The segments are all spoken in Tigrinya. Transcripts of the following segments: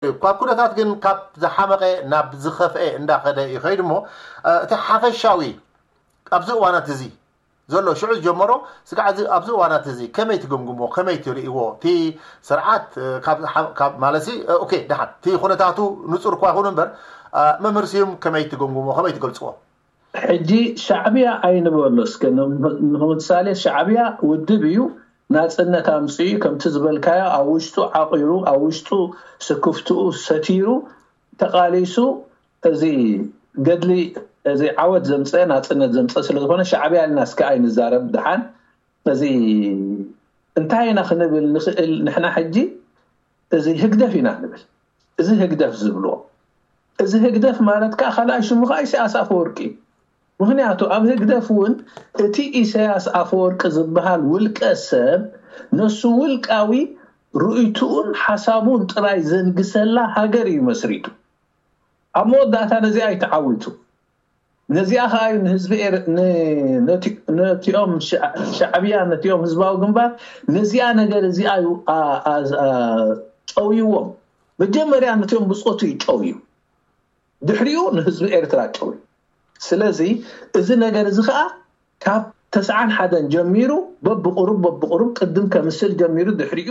ካብ ኩነታት ግን ካብ ዝሓመቐ ናብ ዝኸፍአ እንዳኸደ ይኸይድ እሞ፣ እ፣ እቲ ሓፈሻዊ ኣብዚ እዋናት እዚ ዘሎ ሽዑ ዝጀመሮ ስጋዕ እዚ ኣብዚ እዋናት እዚ ከመይ ትግምግሞ፣ ከመይ ትርእይዎ? እቲ ስርዓት፣ እ፣ ካብ ዝሓ-፣ ካብ ማለት ሲ፣ እ፣ ኦኬ፣ ደሓን እቲ ኩነታቱ ንጹር እኳ ይኹን እምበር፣ እ፣ መምህር ስዩም ከመይ ትግምግሞ፣ ከመይ ትገልጽዎ? ሕጂ ሻዕብያ ኣይንበሎ እስከ፣ ን-፣ ንምሳሌ ሻዕብያ ውድብ እዩ፣ ናጽነት ኣምጽኡ እዩ፣ ከምቲ ዝበልካዮ ኣብ ውሽጡ ዓቒሩ፣ ኣብ ውሽጡ ስክፍትኡ ሰቲሩ፣ ተቓሊሱ፣ እዚ ገድሊ፣ እዚ ዓወት ዘምጸ፣ ናጽነት ዘምጸ ስለ ዝኾነ ሻዕብያ ኢልና እስከ ኣይንዛረብ። ደሓን እዚ እንታይ ኢና ክንብል ንኽእል ንሕና ሕጂ? እዚ ህግደፍ ኢና ንብል። እዚ ህግደፍ ዝብልዎ፣ እዚ ህግደፍ ማለት ከኣ ካልኣይ ሽሙ ከኣ ኢሳያስ ኣፈወርቂ እዩ። ምኽንያቱ ኣብ ህግደፍ እውን እቲ ኢሳያስ ኣፈወርቂ ዝበሃል ውልቀ ሰብ ነሱ ውልቃዊ ርእይትኡን ሓሳቡን ጥራይ ዘንግሰላ ሃገር እዩ መስሪቱ። ኣብ መወዳእታ ነዚኣ እዩ ተዓዊቱ። ነዚኣ ከኣ እዩ ንህዝቢ ኤር-፣ ን-፣ ነቲ-፣ ነቲኦም ሻ-፣ ሻዕብያ፣ ነቲኦም ህዝባዊ ግንባር፣ ነዚኣ ነገር እዚኣ እዩ ኣ-፣ ኣ-፣ ኣ-፣ ጨውይዎም። መጀመርያ ነቲኦም ብጾቱ እዩ ጨውዩ። ድሕሪኡ ንህዝቢ ኤርትራ ጨውዩ። ስለዚ እዚ ነገር እዚ ከኣ ካብ ተስዓን ሓደን ጀሚሩ በብቁሩብ፣ በብቁሩብ ቅድም ከምስል ጀሚሩ ድሕሪኡ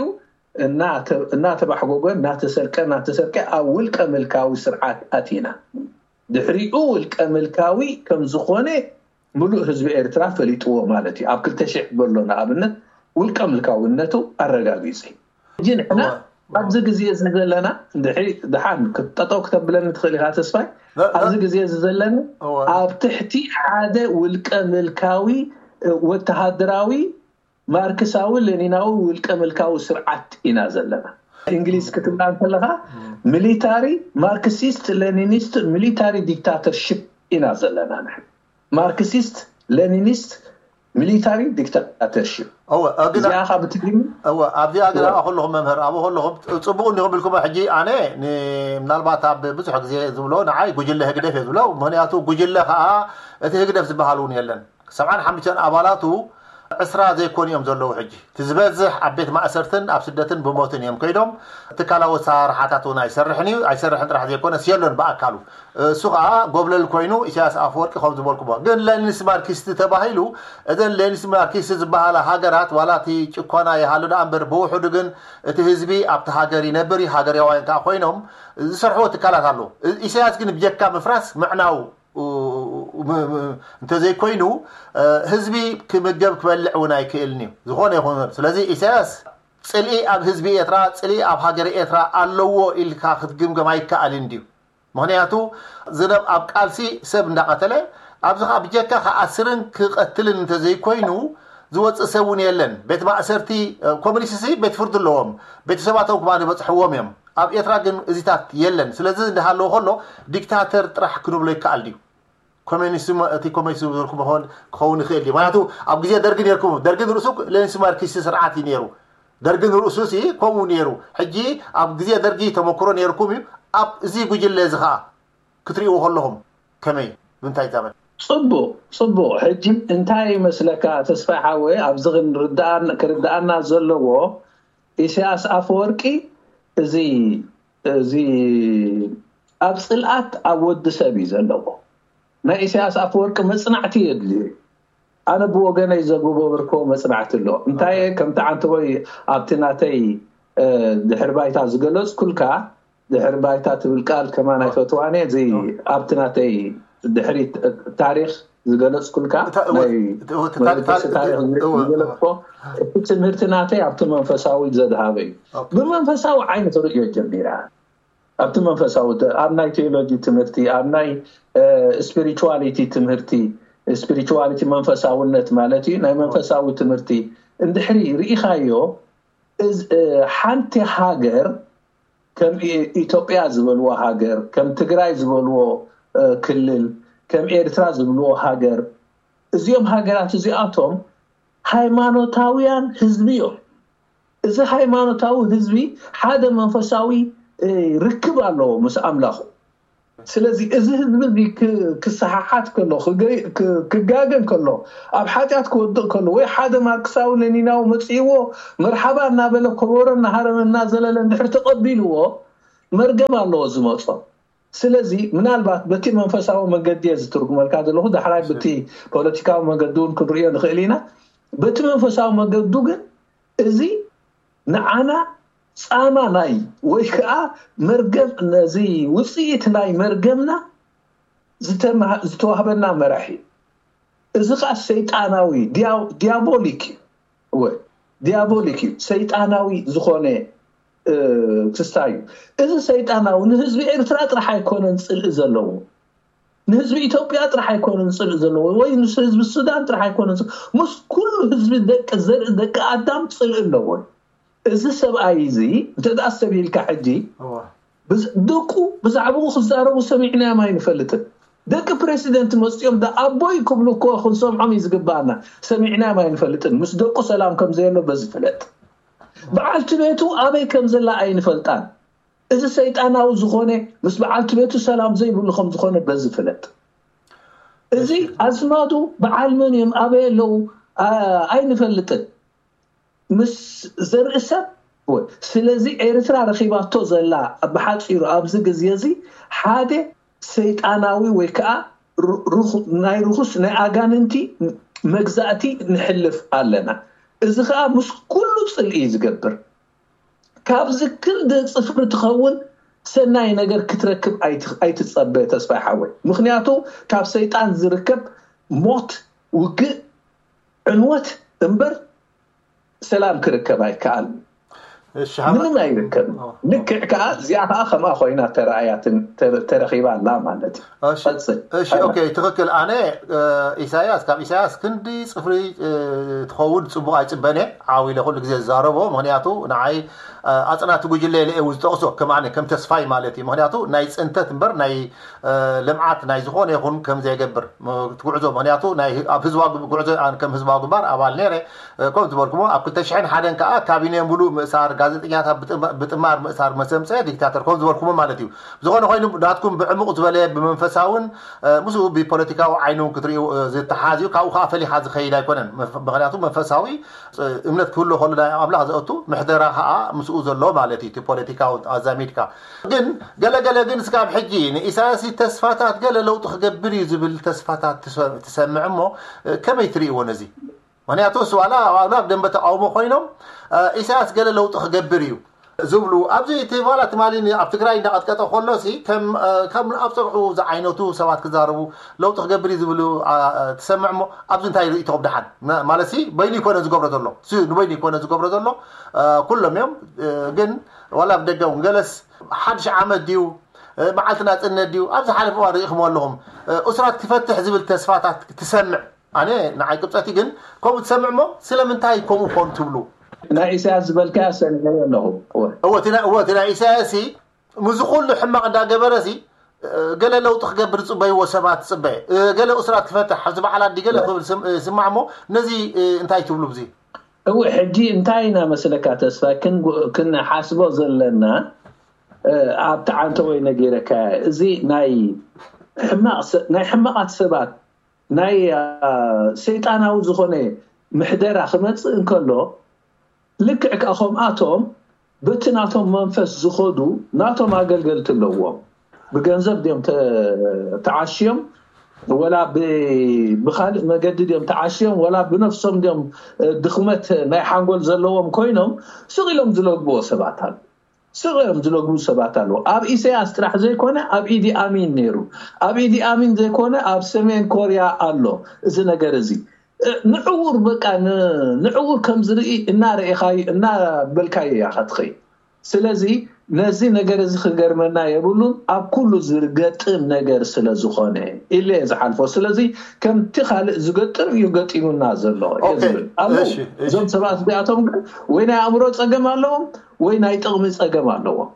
እናተ-፣ እናተባሕጎገ፣ እናተሰርቀ፣ እናተሰርቀ ኣብ ውልቀ ምልካዊ ስርዓት ኣቲና። ድሕሪኡ ውልቀ ምልካዊ ከም ዝኾነ ምሉእ ህዝቢ ኤርትራ ፈሊጥዎ ማለት እዩ። ኣብ ክልተ ሽሕ በሎ ንኣብነት ውልቀ ምልካውነቱ ኣረጋጊጹ እዩ። ሕጂ ንሕና እወ። ኣብዚ ግዜ እዚ ዘለና፣ እንድሕሪ ደሓን ክጠጠው ክተብለኒ ትኽእል ኢኻ ተስፋይ። ነ-፣ ነ-፣ ኣብዚ ግዜ እዚ ዘለና እወ። ኣብ ትሕቲ ሓደ ውልቀ ምልካዊ፣ እ፣ ወተሃደራዊ ማርክሳዊ ሌኒናዊ ውልቀ ምልካዊ ስርዓት ኢና ዘለና። እንግሊዝ ክትብላ እንከለኻ ሚሊታሪ ማርክሲስት ሌኒኒስት ሚሊታሪ ዲክታተርሺፕ ኢና ዘለና ንሕና። ማርክሲስት ሌኒኒስት ሚሊታሪ ዲክታተርሺፕ። እወ፣ እ፣ ግን እዚኣ ኸዓ ብትግርኛ እወ፣ ኣብዚኣ ግን እወ። ኣብኣ ከለኹም መምህር፣ ኣብኡ ከለኹም ጽቡቕ እንዲኹም ኢልኩም፣ ሕጂ ኣነ ን-፣ ምናልባት ኣብ ብዙሕ ግዜ ዝብሎ ንዓይ ጉጅለ ህግደፍ እየ ዝብሎ። ምኽንያቱ ጉጅለ ኸዓ እቲ ህግደፍ ዝበሃል እውን የለን። ሰብዓን ሓሙሽተን ኣባላቱ ዕስራ ዘይኮኑ እዮም ዘለዉ። ሕጂ እቲ ዝበዝሕ ኣብ ቤት ማእሰርትን ኣብ ስደትን ብሞትን እዮም ከይዶም። ትካላዊ ኣሰራርሓታት እውን ኣይሰርሕን እዩ። ኣይሰርሕን ጥራሕ ዘይኮነስ የሎን ብኣካሉ። እሱ ኸዓ ጎብለል ኮይኑ ኢሳያስ ኣፈወርቂ ከም ዝበልኩሞ። ግን ሌኒንስ ማርክሲስት ተባሂሉ፣ እዘን ሌኒንስ ማርክሲስት ዝበሃላ ሃገራት ዋላ እቲ ጭኮና ይሃሉ ደኣ እምበር ብውሕዱ ግን እቲ ህዝቢ ኣብቲ ሃገር ይነብር እዩ። ሃገራውያን ከኣ ኮይኖም ዝሰርሕዎ ትካላት ኣለዉ። እ-፣ ኢሳያስ ግን ብጀካ ምፍራስ ምዕናው ኡ-፣ ም-፣ ም-፣ እንተዘይኮይኑ፣ እ፣ ህዝቢ ክምገብ ክበልዕ እውን ኣይክእልን እዩ። ዝኾነ ይኹን። ስለዚ ኢሳያስ ጽልኢ ኣብ ህዝቢ ኤርትራ፣ ጽልኢ ኣብ ሃገረ ኤርትራ ኣለዎ ኢልካ ክትግምገም ኣይከኣልን ድዩ? ምኽንያቱ ዝነብ ኣብ ቃልሲ ሰብ እንዳቐተለ፣ ኣብዚ ኸኣ ብጀካ ክኣስርን ክቐትልን እንተዘይኮይኑ ዝወጽእ ሰብ እውን የለን። ቤት ማእሰርቲ፣ እ፣ ኮሚኒስትሲ ቤት ፍርዲ ኣለዎም። ቤተሰባቶም ክማን ይበጽሕዎም እዮም። ኣብ ኤርትራ ግን እዚታት የለን። ስለዚ እንዳሃለወ ከሎ ዲክታተር ጥራሕ ክንብሎ ይከኣል ድዩ? ኮሚኒስት፣ እቲ ኮሚኒስት ዝበልኩ መኾን ክኸውን ይኽእል ድዩ? ምኽንያቱ ኣብ ግዜ ደርጊ ነይርኩም፣ ደርጊ ንርእሱ ሌኒንስ ማርክሲስት ስርዓት እዩ ነይሩ። ደርጊ ንርእሱ ሲ ከምኡ ነይሩ። ሕጂ ኣብ ግዜ ደርጊ ተመክሮ ነይርኩም እዩ። ኣብ እዚ ጉጅለ እዚ ኸኣ ክትርእይዎ ከለኹም ከመይ? ብምንታይ ዘመን? ጽቡቕ፣ ጽቡቕ። ሕጂ እንታይ ይመስለካ ተስፋይ ሓወይ፣ ኣብዚ ክንርድኣን-፣ ክርድኣና ዘለዎ ኢሳያስ ኣፈወርቂ እዚ፣ እዚ ኣብ ጽልኣት ኣብ ወዲ ሰብ እዩ ዘለዎ። ናይ ኢሳያስ ኣፈወርቂ መጽናዕቲ የድልዩ። ኣነ ብወገነይ ዘጎበበርኮ መጽናዕቲ ኣሎ። እንታይ ኦኬ። ከምቲ ዓንተቦይ ኣብቲ ናተይ፣ እ፣ ድሕሪ ባይታ ዝገለጽኩልካ፣ ድሕሪ ባይታ ትብል ቃል ከማን ኦ። ኣይፈትዋን እየ። እዚ ኦ። ኣብቲ ናተይ ድሕሪ ት-፣ ታሪኽ ዝገለጽኩልካ፣ እታ-፣ እወ፣ ናይ እወ፣ እታ-፣ መበገሲ ታሪኽ እወ፣ ዝገለጽኮ፣ እቲ ትምህርቲ ናተይ ኣብቲ መንፈሳዊ ዘድሃበ እዩ። ኦኬ። ብመንፈሳዊ ዓይኒ ክርእዮ ጀሚረ። ኣብቲ መንፈሳዊ ተ-፣ ኣብ ናይ ቴዎሎጂ ትምህርቲ፣ ኣብ ናይ፣ እ፣ ስፒሪቹዋሊቲ ትምህርቲ፣ ስፒሪቹዋሊቲ መንፈሳውነት ማለት እዩ። ናይ መንፈሳዊ ትምህርቲ እንድሕሪ ርኢኻዮ፣ እዝ-፣ እ፣ ሓንቲ ሃገር ከም ኢ-፣ ኢትዮጵያ ዝበልዎ ሃገር፣ ከም ትግራይ ዝበልዎ፣ እ፣ ክልል፣ ከም ኤርትራ ዝብልዎ ሃገር፣ እዚኦም ሃገራት እዚኣቶም ሃይማኖታውያን ህዝቢ እዮም። እዚ ሃይማኖታዊ ህዝቢ ሓደ መንፈሳዊ፣ እ፣ ርክብ ኣለዎ ምስ ኣምላኹ። ስለዚ እዚ ህዝቢ እዚ ክ-፣ ክሰሓሓት ከሎ፣ ክገ-፣ ክ-፣ ክጋገ እንከሎ፣ ኣብ ሓጢኣት ክወድቕ ከሎ፣ ወይ ሓደ ማርክሳዊ ሌኒናዊ መጺእዎ፣ መርሓባ እናበለ፣ ከበሮ እናሃረመ፣ እናዘለለ እንድሕር ተቐቢልዎ፣ መርገም ኣለዎ ዝመጾ። ስለዚ ምናልባት በቲ መንፈሳዊ መገዲ እየ ዝትርጉመልካ ዘለኹ፣ ዳሕራይ በቲ ፖለቲካዊ መገዲ እውን ክንርእዮ ንኽእል ኢና። በቲ መንፈሳዊ መገዱ ግን እዚ ንዓና ጻማ ናይ ወይ ከዓ መርገም፣ ነዚ ውፅኢት ናይ መርገምና ዝተመሃ- ዝተዋህበና መራሒ እዩ። እዚ ከዓ ሰይጣናዊ ዲያ- ዲያቦሊክ እዩ። እወ፣ ዲያቦሊክ እዩ፣ ሰይጣናዊ ዝኾነ ክስታይ እዩ። እዚ ሰይጣናዊ ንህዝቢ ኤርትራ ጥራሕ ኣይኮነን ፅልኢ ዘለዎ፣ ንህዝቢ ኢትዮጵያ ጥራሕ ኣይኮነን ፅልኢ ዘለዎ፣ ወይ ምስ ህዝቢ ሱዳን ጥራሕ ኣይኮነን ፅልኢ፣ ምስ ኩሉ ህዝቢ፣ ደቂ ዘርኢ ደቂ ኣዳም ፅልኢ ኣለዎ። እዚ ሰብኣይ እዚ እንተ ደኣ ሰብ ኢልካ ሕጂ፣ ደቁ ብዛዕባኡ ክዛረቡ ሰሚዕናዮም ኣይንፈልጥን። ደቂ ፕሬሲደንት መፅኦም ዳ ኣቦይ ክብሉ እኮ ክንሰምዖም እዩ ዝግባኣና። ሰሚዕናዮም ኣይንፈልጥን። ምስ ደቁ ሰላም ከም ዘየሎ በዚ ፍለጥ። በዓልቲ ቤቱ ኣበይ ከም ዘላ ኣይንፈልጣን። እዚ ሰይጣናዊ ዝኾነ ምስ በዓልቲ ቤቱ ሰላም ዘይብሉ ከም ዝኾነ በዚ ፍለጥ። እዚ ኣዝማዱ በዓል መን እዮም፣ ኣበይ ኣለዉ፣ ኣ- ኣይንፈልጥን። ምስ ዘርኢ ሰብ ወይ። ስለዚ ኤርትራ ረኺባቶ ዘላ ብሓጺሩ ኣብዚ ግዜ እዚ ሓደ ሰይጣናዊ ወይ ከዓ ሩ- ርኹ- ናይ ርኹስ ናይ ኣጋንንቲ መግዛእቲ ንሕልፍ ኣለና። እዚ ከዓ ምስ ኩሉ ጽልኢ እዩ ዝገብር። ካብዚ ክንዲ ጽፍሪ ትኸውን ሰናይ ነገር ክትረክብ ኣይት- ኣይትጸበ ተስፋይ ሓወይ። ምኽንያቱ ካብ ሰይጣን ዝርከብ ሞት፣ ውግእ፣ ዕንወት እምበር ሰላም ክርከብ ኣይከኣልን። እሺ፣ ምንም ኣይርከብን። ልክዕ ከዓ እዚኣ ከዓ ከምኣ ኮይና ተረኣያትን ተረ- ተረኺባ ኣላ ማለት እዩ። እሺ፣ ቀጽል። እሺ፣ ኦኬ፣ ትኽክል። ኣነ ኢሳያስ፣ ካብ ኢሳያስ ክንዲ ጽፍሪ ትኸውን ጽቡቕ ኣይጽበን እየ። ዓው ኢለ ኩሉ ግዜ ዝዛረቦ፣ ምኽንያቱ ንዓይ ኣጽናቲ ጉጅለ ኢለ እየ ዝጠቕሶ፣ ከም ኣነ ከም ተስፋይ ማለት እዩ። ምኽንያቱ ናይ ጽንተት እምበር ናይ ልምዓት ናይ ዝኾነ ይኹን ከም ዘይገብር ትጉዕዞ፣ ምኽንያቱ ኣብ ህዝባዊ ጉዕዞ ከም ህዝባዊ ግንባር ኣባል ነይረ። ከም ዝበልኩሞ ኣብ ክልተ ሽሕን ሓደን ከዓ ካቢነ ሙሉእ ምእሳር፣ ጋዜጠኛታት ብጥማር ምእሳር፣ መሰምፀ ዲክታተር ከም ዝበልኩሞ ማለት እዩ። ዝኾነ ኮይኑ ናትኩም ብዕሙቕ ዝበለ ብመንፈሳውን ምስኡ ብፖለቲካዊ ዓይኑ ክትሪኡ ዝተሓዝ እዩ። ካብኡ ከዓ ፈሊኻ ዝኸይድ ኣይኮነን። ምኽንያቱ መንፈሳዊ እምነት ክህሉ ከሎ ናይ ኣምላኽ ዘእቱ ምሕደራ ከዓ ምስኡ ዘሎ ማለት እዩ። እቲ ፖለቲካዊ ኣዛሚድካ ግን ገለገለ ግን እስካብ ሕጂ ንኢሳያስ ተስፋታት ገለ ለውጢ ክገብር እዩ ዝብል ተስፋታት ትሰምዕ እሞ ከመይ ትርእይዎ ነዚ? ምክንያቱ እሱ ዋላ ዋላ ኣብ ደንበ ተቃውሞ ኮይኖም ኢሳያስ ገለ ለውጢ ክገብር እዩ ዝብሉ ኣብዚ እቲ ዋላ ትማሊ ኣብ ትግራይ እንዳቀጥቀጠ ከሎ ሲ ከም ከም ኣብ ፀብዑ ዝዓይነቱ ሰባት ክዛረቡ ለውጢ ክገብር እዩ ዝብሉ ትሰምዕ እሞ ኣብዚ እንታይ ርእይቶ ብድሓን ማለት ሲ በይኑ ይኮነ ዝገብሮ ዘሎ ንበይኑ ይኮነ ዝገብሮ ዘሎ ኩሎም እዮም ግን ዋላ ኣብ ደገ እውን ገለስ ሓድሽ ዓመት ድዩ መዓልቲ ናፅነት ድዩ ኣብ ዝሓለፈ እዋን ርኢኹም ኣለኹም እሱራት ክፈትሕ ዝብል ተስፋታት ትሰምዕ ኣነ ንዓይ ቅብፀቲ ግን ከምኡ ትሰምዕ እሞ ስለምንታይ ከምኡ ኮን ትብሉ ናይ ኢሳያስ ዝበልካያ ሰሚዐዮ ኣለኹ እወ እቲ ናይ ኢሳያስ ሲ ምስዚ ኩሉ ሕማቕ እንዳገበረ ሲ ገለ ለውጢ ክገብር ዝፅበይዎ ሰባት ትፅበ ገለ እሱራት ክፈትሕ ኣብዚ በዓል ኣዲ ገለ ክብል ስማዕ እሞ ነዚ እንታይ ትብሉ ብዚ እው ሕጂ እንታይ ኢና መስለካ ተስፋ ክንሓስቦ ዘለና ኣብቲ ዓንተ ወይ ነጊረካ እዚ ናይ ሕማቕ ናይ ሕማቓት ሰባት ናይ ሰይጣናዊ ዝኾነ ምሕደራ ክመፅእ እንከሎ ልክዕ ከዓ ከምኣቶም በቲ ናቶም መንፈስ ዝኸዱ ናቶም ኣገልገልቲ ኣለዎም ብገንዘብ ድዮም ተዓሽዮም ወላ ብካልእ መገዲ ድዮም ተዓሽዮም ወላ ብነፍሶም ድዮም ድኽመት ናይ ሓንጎል ዘለዎም ኮይኖም ስቕ ኢሎም ዝለግብዎ ሰባት ኣሉ ስቕ ኢሎም ዝለግቡ ሰባት ኣለዉ ኣብ ኢሳያስ ጥራሕ ዘይኮነ ኣብ ኢዲ ኣሚን ነይሩ ኣብ ኢዲ ኣሚን ዘይኮነ ኣብ ሰሜን ኮርያ ኣሎ እዚ ነገር እዚ ንዕውር በቃ ንዕውር ከም ዝርኢ እናረኢኻዩ እናበልካዮ እያ ከትኸይ ስለዚ ነዚ ነገር እዚ ክገርመና የብሉን ኣብ ኩሉ ዝገጥም ነገር ስለ ዝኾነ ኢለ ዝሓልፎ ስለዚ ከምቲ ካልእ ዝገጥም እዩ ገጢሙና ዘሎ ዝብል ኣለዉ እዞም ሰባት እዚኣቶም ግን ወይ ናይ ኣእምሮ ፀገም ኣለዎም ወይ ናይ ጥቕሚ ፀገም ኣለዎም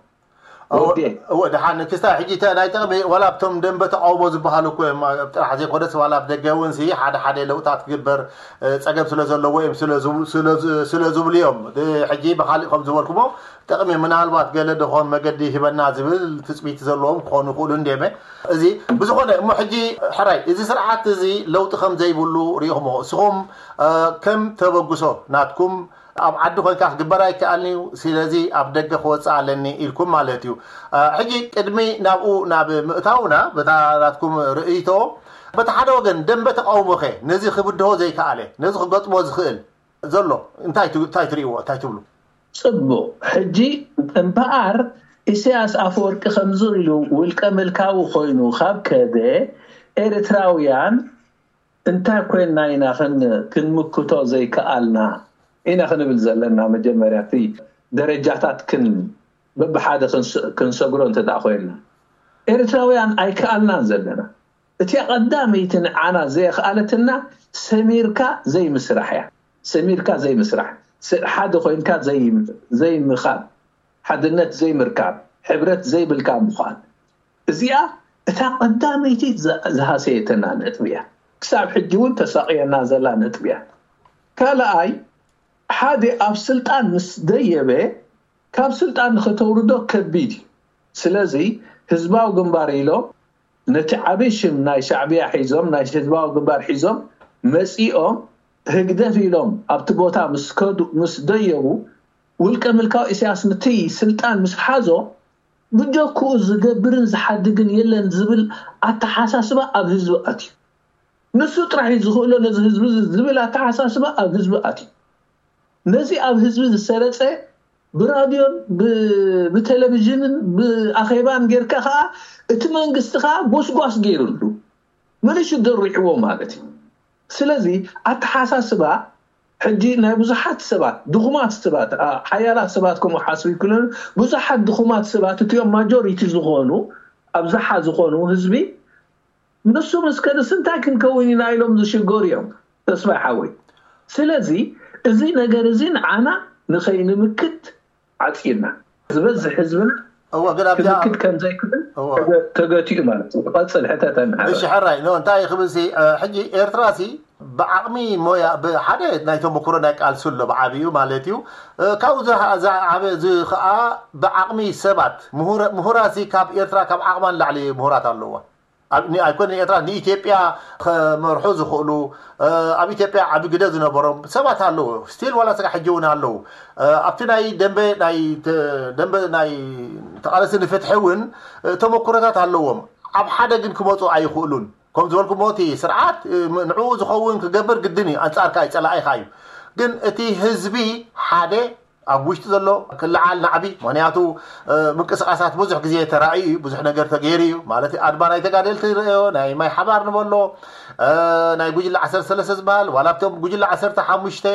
እወ ደሓን ክስታይ ሕጂ ናይ ጥቕሚ ዋላ ኣብቶም ደንበ ተቃውሞ ዝበሃሉ እኮ እዮም ጥራሕ ዘይኮነስ ዋላ ኣብ ደገ እውን ሲ ሓደ ሓደ ለውጣት ክግበር ፀገም ስለ ዘለዎ እዮም ስለ ዝብሉ እዮም ሕጂ ብካሊእ ከም ዝበልኩሞ ጥቕሚ ምናልባት ገለ ደኾን መገዲ ሂበና ዝብል ትፅቢት ዘለዎም ክኾኑ ይኽእሉ እንዲየመ እዚ ብዝኾነ እሞ ሕጂ ሕራይ እዚ ስርዓት እዚ ለውጢ ከም ዘይብሉ ሪኢኹሞ እስኹም ከም ተበግሶ ናትኩም ኣብ ዓዲ ኮይንካ ክግበር ኣይከኣልን እዩ። ስለዚ ኣብ ደገ ክወፅእ ኣለኒ ኢልኩም ማለት እዩ። ሕጂ ቅድሚ ናብኡ ናብ ምእታውና በታ ናትኩም ርእይቶ፣ በቲ ሓደ ወገን ደንበ ተቃውሞኸ ነዚ ክብድሆ ዘይከኣለ፣ ነዚ ክገጥሞ ዝኽእል ዘሎ እንታይ ትርእይዎ፣ እንታይ ትብሉ? ፅቡቅ። ሕጂ እምበኣር ኢሳያስ ኣፈወርቂ ከምዚ ኢሉ ውልቀ ምልካዊ ኮይኑ ካብ ከደ፣ ኤርትራውያን እንታይ ኮይንና ኢና ክንምክቶ ዘይከኣልና ኢና ክንብል ዘለና። መጀመርያ እቲ ደረጃታት በብሓደ ክንሰግሮ እንተ ኮይንና፣ ኤርትራውያን ኣይከኣልናን ዘለና። እቲኣ ቀዳመይቲ ንዓና ዘየኽኣለትና ሰሚርካ ዘይምስራሕ እያ። ሰሚርካ ዘይምስራሕ፣ ሓደ ኮይንካ ዘይምኻድ፣ ሓድነት ዘይምርካብ፣ ሕብረት ዘይብልካ ምዃን፣ እዚኣ እታ ቀዳመይቲ ዝሃሰየተና ነጥቢ እያ። ክሳብ ሕጂ እውን ተሳቕየና ዘላ ነጥቢ እያ። ካልኣይ፣ ሓደ ኣብ ስልጣን ምስ ደየበ፣ ካብ ስልጣን ንኸተውርዶ ከቢድ እዩ። ስለዚ ህዝባዊ ግንባር ኢሎም ነቲ ዓብዪ ሽም ናይ ሻዕብያ ሒዞም፣ ናይ ህዝባዊ ግንባር ሒዞም መፂኦም፣ ህግደፍ ኢሎም ኣብቲ ቦታ ምስ ከዱ፣ ምስ ደየቡ፣ ውልቀ ምልካዊ ኢሳያስ ነቲ ስልጣን ምስ ሓዞ፣ ብጀክኡ ዝገብርን ዝሓድግን የለን ዝብል ኣተሓሳስባ ኣብ ህዝቢ ኣትዩ። ንሱ ጥራሕ እዩ ዝኽእሎ ነዚ ህዝቢ እዚ ዝብል ኣተሓሳስባ ኣብ ህዝቢ ኣትዩ። ነዚ ኣብ ህዝቢ ዝሰረፀ ብራድዮን ብቴሌቪዥንን ብኣኼባን ጌርካ ከዓ እቲ መንግስቲ ከዓ ጎስጓስ ገይሩሉ፣ መሊሹ ደሪዕዎ ማለት እዩ። ስለዚ ኣተሓሳስባ ሕጂ ናይ ብዙሓት ሰባት፣ ድኹማት ሰባት፣ ሓያላት ሰባት ከምኡ ሓስቡ ይክእሉ፣ ብዙሓት ድኹማት ሰባት፣ እቲኦም ማጆሪቲ ዝኾኑ፣ ኣብዝሓ ዝኾኑ ህዝቢ፣ ንሱ ምስ ከደስ እንታይ ክንከውን ኢና ኢሎም ዝሽገሩ እዮም ተስፋይ ሓወይ። ስለዚ እዚ ነገር እዚ ንዓና ንኸይንምክት ዓፂና ዝበዝሕ ህዝብና እወ፣ ግን ኣብዚኣ ክምክት ከም ዘይክእል እወ። ተገ-፣ ተገቲኡ ማለት እዩ። ቀፅል ሕተተና። እሺ፣ ሕራይ፣ ኖ፣ እንታይ ክብል ሲ፣ እ፣ ሕጂ ኤርትራ ሲ ብዓቕሚ ሞያ፣ ብሓደ ናይ ተመክሮ ናይ ቃልሲ ኣሎ ብዓብዩ ማለት እዩ። እ፣ ካብኡ ዝሃ-፣ ዝዓበ፣ እዚ ኸኣ ብዓቕሚ ሰባት፣ ምሁረ-፣ ምሁራት ሲ ካብ ኤርትራ ካብ ዓቕማ ንላዕሊ ምሁራት ኣለዋ። ኣብ፣ ኒ-፣ ኣይኮነ ኤርትራ፣ ንኢትዮጵያ ከመርሑ ዝኽእሉ፣ እ፣ ኣብ ኢትዮጵያ ዓቢ ግደ ዝነበሮም ሰባት ኣለዉ። ስቲል ዋላ ስጋ ሕጂ እውን ኣለዉ። እ፣ ኣብቲ ናይ ደንበ ናይ ተ-፣ ደንበ ናይ ተቓለስቲ ንፍትሒ እውን፣ እ፣ ተመኩሮታት ኣለዎም። ኣብ ሓደ ግን ክመጹ ኣይኽእሉን። ከም ዝበልኩሞ እቲ ስርዓት፣ እ፣ ም-፣ ንዕኡ ዝኸውን ክገብር ግድን እዩ። ኣንጻርካ እዩ፣ ጸላኢኻ እዩ። ግን እቲ ህዝቢ ሓደ ኣብ ውሽጢ ዘሎ ክለዓል ናዕቢ። ምኽንያቱ፣ እ፣ ምንቅስቃሳት ብዙሕ ግዜ ተራእዩ እዩ፣ ብዙሕ ነገር ተገይሩ እዩ። ማለት ኣድማ ናይ ተጋደልቲ ንርእዮ፣ ናይ ማይ ሓባር ንበሎ፣ እ፣ ናይ ጉጅለ ዓሰርተ ሰለስተ ዝበሃል፣ ዋላ ኣብቶም ጉጅለ ዓሰርተ ሓሙሽተ፣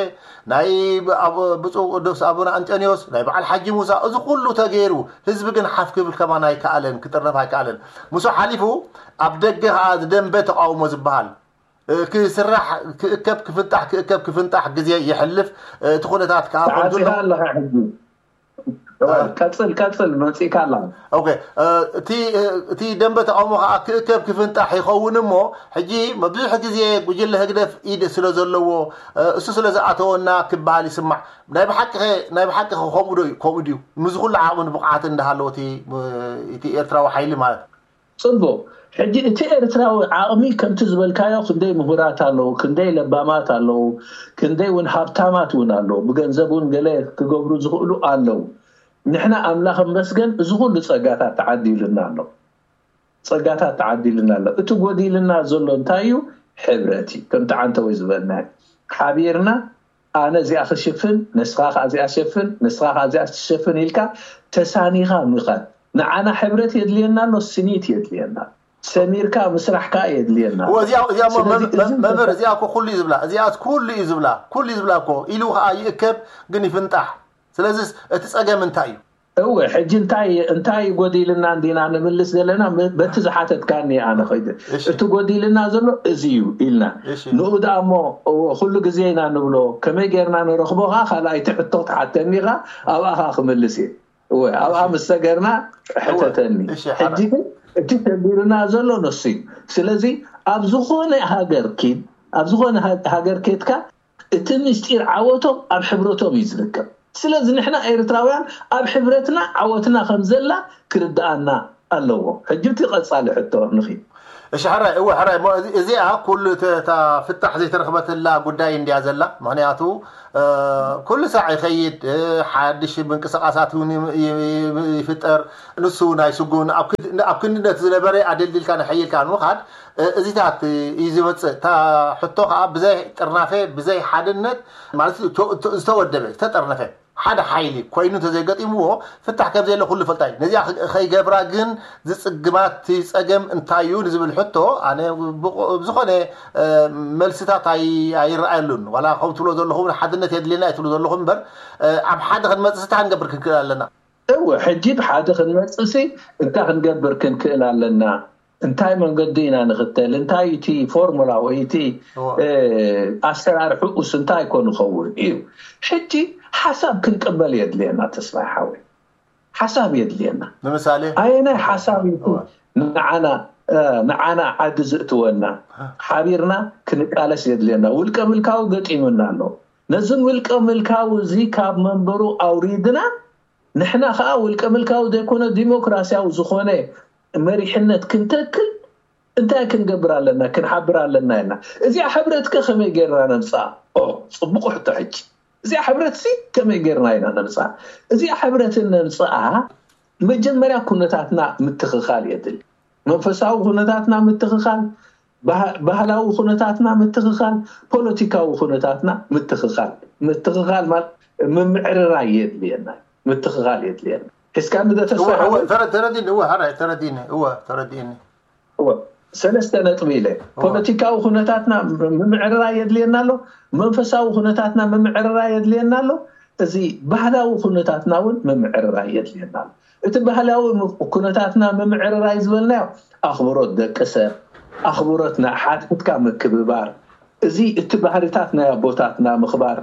ናይ ብ-፣ ኣብ ብፁዕ ቅዱስ ኣቡነ ኣንጠንዮስ፣ ናይ በዓል ሓጂ ሙሳ፣ እዚ ኩሉ ተገይሩ፣ ህዝቢ ግን ሓፍ ክብል ከማን ኣይከኣለን፣ ክጥርነፍ ኣይከኣለን። ምስኡ ሓሊፉ ኣብ ደገ ከኣ ደንበ ተቃውሞ ዝበሃል፣ እ፣ ክስራሕ፣ ክእከብ ክፍንጣሕ፣ ክእከብ ክፍንጣሕ ግዜ ይሕልፍ። እ፣ እቲ ኩነታት ከኣ ከም ዘሎ ተዓጺኻ ኣለኻ ሕጂ። እወ፣ እ። ቀጽል፣ ቀጽል፣ መጺእካ ኣለኻ። ኦኬ፣ እ፣ እቲ፣ እ፣ እቲ ደንበ ተቃውሞ ከኣ ክእከብ ክፍንጣሕ ይኸውን እሞ፣ ሕጂ ብዙሕ ግዜ ጉጅለ ህግደፍ ኢድ ስለ ዘለዎ፣ እ፣ እሱ ስለ ዝኣተወና ክበሃል ይስማዕ። ናይ ብሓቂ ኸ፣ ናይ ብሓቂ ኸ ከምኡ ዶ እዩ? ከምኡ ድዩ? ምስዚ ኩሉ ዓቕምን ብቕዓትን እንዳሃለወ እቲ፣ እ፣ እቲ ኤርትራዊ ሓይሊ ማለት? ጽቡቕ። ሕጂ እቲ ኤርትራዊ ዓቕሚ ከምቲ ዝበልካዮ ክንደይ ምሁራት ኣለዉ፣ ክንደይ ለባማት ኣለዉ፣ ክንደይ እውን ሃብታማት እውን ኣለዉ፣ ብገንዘብ እውን ገለ ክገብሩ ዝኽእሉ ኣለዉ። ንሕና ኣምላኽ እመስገን እዚ ኩሉ ጸጋታት ተዓዲሉና ኣሎ። ጸጋታት ተዓዲሉና ኣሎ። እቲ ጎዲልና ዘሎ እንታይ እዩ? ሕብረት እዩ። ከምቲ ዓንተወይ ዝበልና እዩ። ሓቢርና ኣነ እዚኣ ክሽፍን፣ ንስኻ ከኣ እዚኣ ትሸፍን፣ ንስኻ ከኣ እዚኣ ትሸፍን ኢልካ ተሳኒኻ ምኻድ። ንዓና ሕብረት የድልየና ኣሎ፣ ስኒት የድልየና። ሰሚርካ ምስራሕ ከኣ የድልየና ኣሎ። እወ፣ እዚኣ፣ እዚኣ እሞ ስለዚ መም-፣ እዚ መም-፣ መምህር፣ እዚኣ እኮ ኩሉ እዩ ዝብላ። እዚኣ ኩሉ እዩ ዝብላ። ኩሉ እዩ ዝብላ እኮ። ኢሉ ከኣ ይእከብ፣ ግን ይፍንጣሕ። ስለዚስ እቲ ጸገም እንታይ እዩ? እወ፣ ሕጂ እንታይ፣ እንታይ ጎዲልና እንዲና ንምልስ ዘለና? መ-፣ በቲ ዝሓተትካኒ ኣነ ኸይደ። እሺ። እቲ ጎዲልና ዘሎ እዚ እዩ ኢልና። እሺ። ንኡ ደኣ እሞ፣ እወ፣ ኩሉ ግዜ ኢና ንብሎ። ከመይ ጌርና ንረኽቦ ኸኣ ካልኣይቲ ሕቶ ክትሓተኒ ኢኻ፣ ኣብኣ ኸኣ ክምልስ እየ። እወ፣ ኣብኣ እሺ። ምስ ሰገርና እወ፣ ሕተተኒ። እሺ፣ ሓራ። ሕጂ ግን እቲ ሸጊሩና ዘሎ ንሱ እዩ። ስለዚ ኣብ ዝኾነ ሃገር ኪድ፣ ኣብ ዝኾነ ሃ-፣ ሃገር ኬድካ እቲ ምስጢር ዓወቶም ኣብ ሕብረቶም እዩ ዝርከብ። ስለዚ ንሕና ኤርትራውያን ኣብ ሕብረትና ዓወትና ከም ዘላ ክርድኣና ኣለዎ። ሕጂ እቲ ቀጻሊ ሕቶ ንኺድ። እሺ ሕራይ፣ እወ ሕራይ፣ እሞ እዚ- እዚኣ ኩሉ እተ- እታ ፍታሕ ዘይተረኽበትላ ጉዳይ እንድያ ዘላ። ምኽንያቱ እ፣ ኩሉ ሳዕ ይኸይድ፣ እ፣ ሓድሽ ምንቅስቃሳት እውን ይም- ይም- ይፍጠር። ንሱ ናይ ስጉን ኣብ ክድ- ኣብ ክንድነት ዝነበረ ኣደልዲልካ ንሐይልካ ንምኻድ እ፣ እዚታት እዩ ዝመፅእ። እታ ሕቶ ከዓ ብዘይ ጥርናፈ፣ ብዘይ ሓድነት ማለት ተ- ተ- ዝተወደበ ዝተጠርነፈ ሓደ ሓይሊ ኮይኑ እንተዘይገጢምዎ ፍታሕ ከም ዘየለ ኩሉ ፈልጣ እዩ። ነዚኣ ከ- ከይገብራ ግን ዝፅግማት እቲ ፀገም እንታይ እዩ ንዝብል ሕቶ ኣነ ብቆ- ብዝኾነ እ፣ መልስታት ኣይ- ኣይረኣየሉን። ዋላ ከም ትብሎ ዘለኹም ሓድነት የድልየና እዩ ትብሉ ዘለኹም እምበር እ፣ ኣብ ሓደ ክንመፅእ እንታይ ክንገብር ክንክእል ኣለና? እወ ሕጂ ብሓደ ክንመፅእሲ እንታይ ክንገብር ክንክእል ኣለና? እንታይ መንገዲ ኢና ንኽተል? እንታይ እቲ ፎርሙላ ወይ እቲ እወ። እ፣ ኣሰራርሕኡስ እንታይ ኮን ይኸውን እዩ? ሕጂ ሓሳብ ክንቅበል የድልየና። ተስፋይ ሓወይ ሓሳብ የድልየና። ንምሳሌ ኣየናይ ሓሳብ እዩ እወ። ንዓና እ፣ ንዓና ዓዲ ዝእትወና? ሓቢርና ክንቃለስ የድልየና። ውልቀ ምልካዊ ገጢሙና ኣሎ። ነዝን ውልቀ ምልካዊ እዚ ካብ መንበሩ ኣውሪድና ንሕና ከዓ ውልቀ ምልካዊ ዘይኮነ ዲሞክራሲያዊ ዝኾነ መሪሕነት ክንተክል እንታይ ክንገብር ኣለና? ክንሓብር ኣለና ኢልና። እዚኣ ሕብረት ከ ከመይ ጌርና ነምፅኣ? ኦ፣ ፅቡቕ ሕቶ። ሕጂ እዚኣ ሕብረት ሲ ከመይ ጌርና ኢና ነምፅኣ? እዚኣ ሕብረትን ነምፅኣ መጀመርያ ኩነታትና ምትኽኻል የድሊ። መንፈሳዊ ኩነታትና ምትኽኻል፣ ባህ- ባህላዊ ኩነታትና ምትኽኻል፣ ፖለቲካዊ ኩነታትና ምትኽኻል። ምትኽኻል ማለት ምምዕርራይ የድልየና፣ ምትኽኻል የድልየና። ሒዝካ ንደተስፋ እወ፣ እወ፣ ተረ- ተረዲኒ፣ እወ፣ ሕራይ፣ ተረዲኒ፣ እወ፣ ተረዲኒ። እወ፣ ሰለስተ ነጥቢ ኢለ። ፖለቲካዊ ኩነታትና ምምዕርራይ የድልየና ኣሎ። መንፈሳዊ ኩነታትና ምምዕርራይ የድልየና ኣሎ። እዚ ባህላዊ ኩነታትና እውን ምምዕርራይ የድልየና ኣሎ። እቲ ባህላዊ ም- ኩነታትና ምምዕርራይ ዝበልናዮ ኣኽብሮት ደቂ ሰብ፣ ኣኽብሮት ናይ ሓድሕድካ ምክብባር፣ እዚ እቲ ባህርታት ናይ ኣቦታትና ምኽባር፣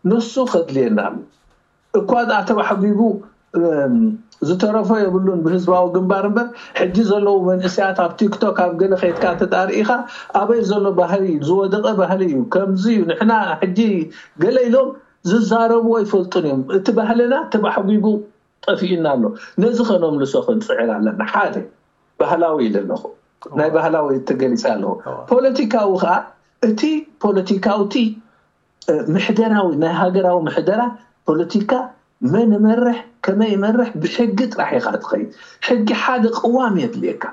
ንሱ ከድልየና ኣሎ። እኳ ደኣ ተባሕጒጉ እም፣ ዝተረፎ የብሉን ብህዝባዊ ግንባር እምበር፣ ሕጂ ዘለዉ መንእሰያት ኣብ ቲክቶክ ኣብ ገለ ከይድካ እንተ ደኣ ርኢኻ፣ ኣበይ ዘሎ ባህሊ እዩ? ዝወደቐ ባህሊ እዩ። ከምዚ እዩ። ንሕና ሕጂ ገለ ኢሎም ዝዛረብዎ ኣይፈልጡን እዮም። እቲ ባህልና ተባሕጒጉ ጠፊኡና ኣሎ። ነዚ ከነምልሶ ክንጽዕር ኣለና። ሓደ ባህላዊ ኢለ ኣለኹ። ናይ ባህላዊ ተገሊጸ ኣለኹ። ፖለቲካዊ ከኣ እቲ ፖለቲካዊ እቲ ምሕደራዊ ናይ ሃገራዊ ምሕደራ ፖለቲካ መን ይመርሕ ከመይ ይመርሕ ብሕጊ ጥራሕ ኢኻ ትኸይድ። ሕጊ ሓደ ቅዋም የድልየካ።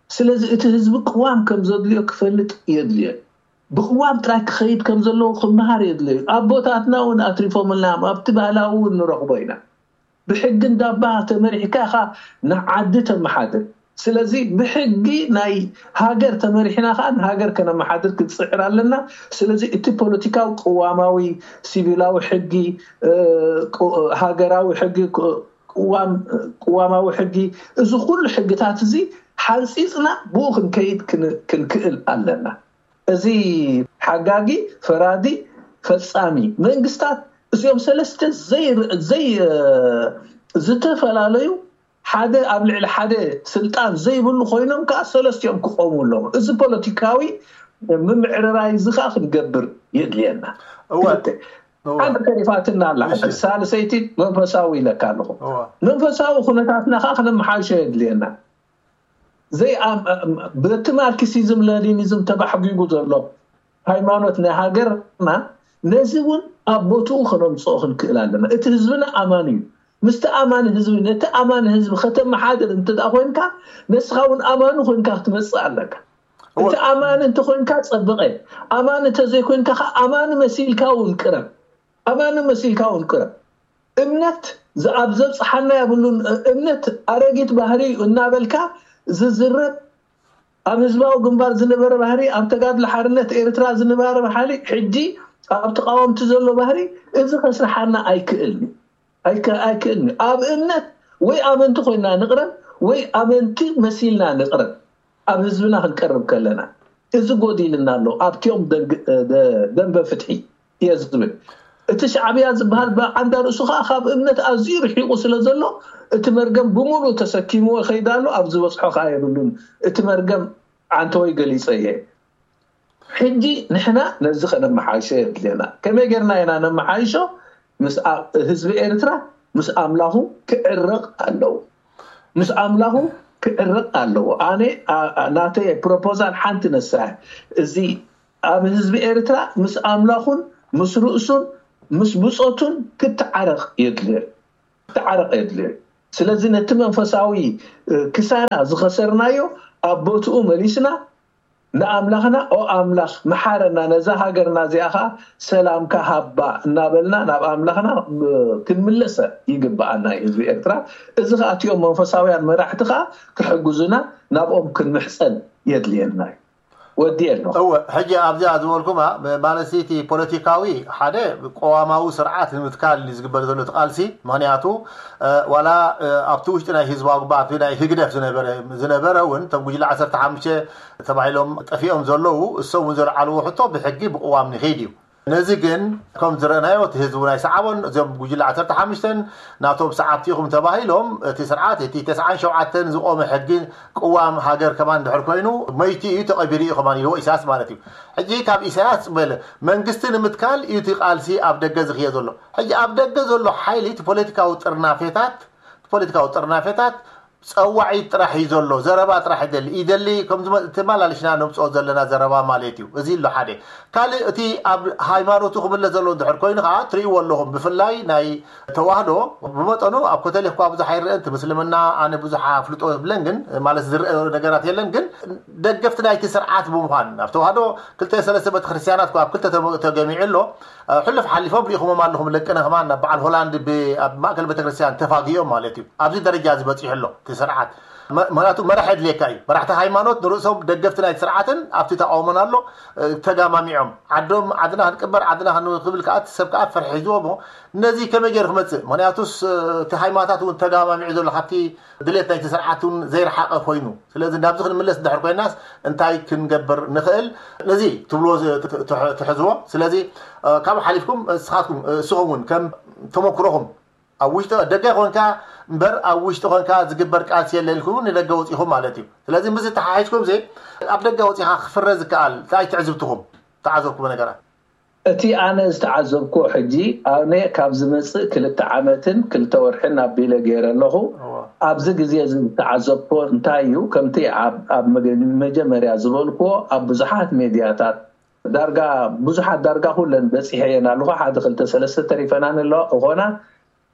ስለዚ እቲ ህዝቢ ቅዋም ከም ዘድልዮ ክፈልጥ የድልዮ። ብቅዋም ጥራይ ክኸይድ ከም ዘለዎ ክመሃር የድልዮ። ኣቦታትና እውን ኣትሪፎምልና እዮም። ኣብቲ ባህላዊ እውን ንረኽቦ ኢና። ብሕጊ እንዳባ ተመሪሕካ ኢኻ ንዓዲ ተመሓድር። ስለዚ ብሕጊ ናይ ሃገር ተመሪሕና ከዓ ንሃገር ከነመሓድር ክንፅዕር ኣለና። ስለዚ እቲ ፖለቲካዊ ቅዋማዊ ሲቪላዊ ሕጊ እ፣ ቁ- ሃገራዊ ሕጊ ቁ- ቅዋም ቅዋማዊ ሕጊ እዚ ኩሉ ሕግታት እዚ ሓንፂፅና ብኡ ክንከይድ ክን- ክንክእል ኣለና። እዚ ሓጋጊ ፈራዲ ፈፃሚ መንግስታት እዚኦም ሰለስተ ዘይር- ዘይ እ፣ ዝተፈላለዩ ሓደ ኣብ ልዕሊ ሓደ ስልጣን ዘይብሉ ኮይኖም ከዓ ሰለስቲኦም ክቆሙ ኣለዎም። እዚ ፖለቲካዊ ምምዕርራይ እዚ ከዓ ክንገብር የድልየና። እወ። ክልተ። እወ። ሓንቲ ተሪፋትና ኣላ። እሺ። ሳልሰይቲ መንፈሳዊ ኢለካ ኣለኹ። እወ። መንፈሳዊ ኩነታትና ከዓ ክነመሓይሾ የድልየና። ዘይ ኣም- በቲ ማርክሲዝም ለኒኒዝም ተባሕጒጉ ዘሎ ሃይማኖት ናይ ሃገርና ነዚ እውን ኣብ ቦትኡ ከነምፅኦ ክንክእል ኣለና። እቲ ህዝብና ኣማኒ እዩ። ምስቲ ኣማኒ ህዝቢ ነቲ ኣማኒ ህዝቢ ከተመሓድር እንተ ደኣ ኮይንካ ንስኻ እውን ኣማኒ ኮይንካ ክትመፅእ ኣለካ። እቲ ኣማኒ እንተኮይንካ ፀብቐ፣ ኣማኒ እንተዘይኮይንካ ከዓ ኣማኒ መሲልካ እውን ቅረብ። ኣማኒ መሲልካ እውን ቅረብ። እምነት ዝኣብ ዘብፅሓና የብሉን። እምነት ኣረጊት ባህሪ እዩ እናበልካ ዝዝረብ ኣብ ህዝባዊ ግንባር ዝነበረ ባህሪ፣ ኣብ ተጋድሎ ሓርነት ኤርትራ ዝነበረ ባህሪ ሕጂ ኣብ ተቃወምቲ ዘሎ ባህሪ እዚ ከስርሓና ኣይክእልን እዩ። ኣይክ- ኣይክእልን እዩ። ኣብ እምነት ወይ ኣመንቲ ኮይና ንቕረብ ወይ ኣመንቲ መሲልና ንቕረብ። ኣብ ህዝብና ክንቀርብ ከለና እዚ ጎዲልና ኣሎ ኣብቲኦም ደንግ- ደ- ደንበ ፍትሒ እየ ዝብል። እቲ ሻዕብያ ዝበሃል ብዓንዳ ርእሱ ከዓ ካብ እምነት ኣዝዩ ርሒቑ ስለ ዘሎ እቲ መርገም ብምሉእ ተሰኪምዎ ይኸይድ ኣሎ። ኣብ ዝበፅሖ ከዓ የብሉን። እቲ መርገም ዓንተወይ ገሊፀ እየ። ሕጂ ንሕና ነዚ ከነመሓይሾ የድልየና። ከመይ ጌርና ኢና ነመሓይሾ? ምስ ኣ- ህዝቢ ኤርትራ ምስ ኣምላኹ ክዕረቕ ኣለዎ። ምስ ኣምላኹ ክዕረቕ ኣለዎ። ኣነ ናተይ ፕሮፖዛል ሓንቲ ነሳ፣ እዚ ኣብ ህዝቢ ኤርትራ ምስ ኣምላኹን ምስ ርእሱን ምስ ብጾቱን ክተዓረቕ የድልዮ። ክተዓረቕ የድልዮ። ስለዚ ነቲ መንፈሳዊ ክሳራ ዝኸሰርናዮ ኣብ ቦትኡ መሊስና ንኣምላኽና፣ ኦ ኣምላኽ መሓረና፣ ነዛ ሃገርና እዚኣ ኸዓ ሰላምካ ሃባ እናበልና ናብ ኣምላኽና ክንምለሰ ይግብኣና እዩ ህዝቢ ኤርትራ። እዚ ኸዓ እቲኦም መንፈሳውያን መራሕቲ ኸዓ ክሕግዙና ናብኦም ክንምሕፀን የድልየና እዩ። ወዲ ኣለኹ። እወ፣ ሕጂ ኣብዚኣ ዝበልኩማ ማለት እቲ ፖለቲካዊ ሓደ ቅዋማዊ ስርዓት ንምትካል እዩ ዝግበር ዘሎ እቲ ቃልሲ። ምክንያቱ ዋላ ኣብቲ ውሽጢ ናይ ህዝባዊ ግንባር ናይ ህግደፍ ዝነበረ እውን እቶም ጉጅለ ዓሰርተ ሓሙሽተ ተባሂሎም ጠፊኦም ዘለዉ እሶም እውን ዘልዓልዎ ሕቶ ብሕጊ ብቅዋም ንኸይድ እዩ። ነዚ ግን ከም ዝረእናዮ እቲ ህዝቢ ናይ ሰዓቦን እዚኦም ጉጅለ ዓሰርተ ሓሙሽተ ናቶም ሰዓብቲ ኢኹም ተባሂሎም እቲ ስርዓት እቲ ተስዓን ሸውዓተን ዝቆመ ሕጊ ቅዋም ሃገር ከማን ድሕር ኮይኑ መይቲ እዩ ተቐቢሩ እዩ ከማን ኢልዎ ኢሳያስ ማለት እዩ። ሕጂ ካብ ኢሳያስ በለ መንግስቲ ንምትካል እዩ እቲ ቃልሲ ኣብ ደገ ዝኽየ ዘሎ። ሕጂ ኣብ ደገ ዘሎ ሓይሊ እቲ ፖለቲካዊ ጥርናፌታት ፖለቲካዊ ጥርናፌታት ጸዋዒት ጥራሕ እዩ ዘሎ፣ ዘረባ ጥራሕ ይደሊ ይደሊ ከም ተመላልሽና ነምፅኦ ዘለና ዘረባ ማለት እዩ። እዚ ኣሎ ሓደ። ካልእ እቲ ኣብ ሃይማኖቱ ክምለስ ዘሎ እንድሕር ኮይኑ ከዓ ትርእይዎ ኣለኹም። ብፍላይ ናይ ተዋህዶ ብመጠኑ ኣብ ኮተሊክ እኳ ብዙሕ ኣይረአን፣ እቲ ምስልምና ኣነ ብዙሕ ኣፍልጦ የብለን፣ ግን ማለት ዝረአ ነገራት የለን። ግን ደገፍቲ ናይቲ ስርዓት ብምዃን ኣብ ተዋህዶ ክልተ ሰለስተ ቤተክርስትያናት እኳ ኣብ ክልተ ተገሚዑ ኣሎ። ሕሉፍ ሓሊፎም ርኢኹሞም ኣለኹም ለቅነ ከማን ናብ በዓል ሆላንድ ኣብ ማእከል ቤተክርስትያን ተፋጊኦም ማለት እዩ። ኣብዚ ደረጃ ዝበፂሑ ኣሎ እቲ ስርዓት። ምክንያቱ መራሒ የድልየካ እዩ። መራሕቲ ሃይማኖት ንርእሶም ደገፍቲ ናይቲ ስርዓትን ኣብቲ ተቃውሞን ኣሎ ተጋማሚዖም ዓዶም ዓድና ክንቅበር ዓድና ክንክብል ከዓ እቲ ሰብ ከዓ ፍርሒ ሒዝዎ እሞ ነዚ ከመይ ገይሩ ክመፅእ? ምክንያቱስ እቲ ሃይማኖታት እውን ተጋማሚዑ ዘሎ ካብቲ ድሌት ናይቲ ስርዓት እውን ዘይረሓቐ ኮይኑ፣ ስለዚ ናብዚ ክንምለስ እንድሕር ኮይናስ እንታይ ክንገብር ንኽእል? ነዚ ትብልዎ ትሕዝዎ። ስለዚ ካብ ሓሊፍኩም እስኻትኩም እስኹም እውን ከም ተመክሮኹም ኣብ ውሽጢ ደገ ኮንካ እምበር ኣብ ውሽጢ ኮንካ ዝግበር ቃልሲ የለ ኢልኩም ንደገ ወፂኹም ማለት እዩ። ስለዚ ምስ ተሓሒዝኩም ዚ ኣብ ደገ ወፂኻ ክፍረ ዝከኣል እንታይ ትዕዝብትኹም ተዓዘብኩም ነገራት? እቲ ኣነ ዝተዓዘብኩ ሕጂ ኣነ ካብ ዝመፅእ ክልተ ዓመትን ክልተ ወርሕን ኣቢለ ገይረ ኣለኹ። ኣብዚ ግዜ እዚ ዝተዓዘብኮ እንታይ እዩ? ከምቲ ኣብ መጀመርያ ዝበልክዎ ኣብ ብዙሓት ሜድያታት ዳርጋ ብዙሓት ዳርጋ ኩለን በፂሐየን ኣለኹ። ሓደ ክልተ ሰለስተ ተሪፈናን ኣለዋ እኾና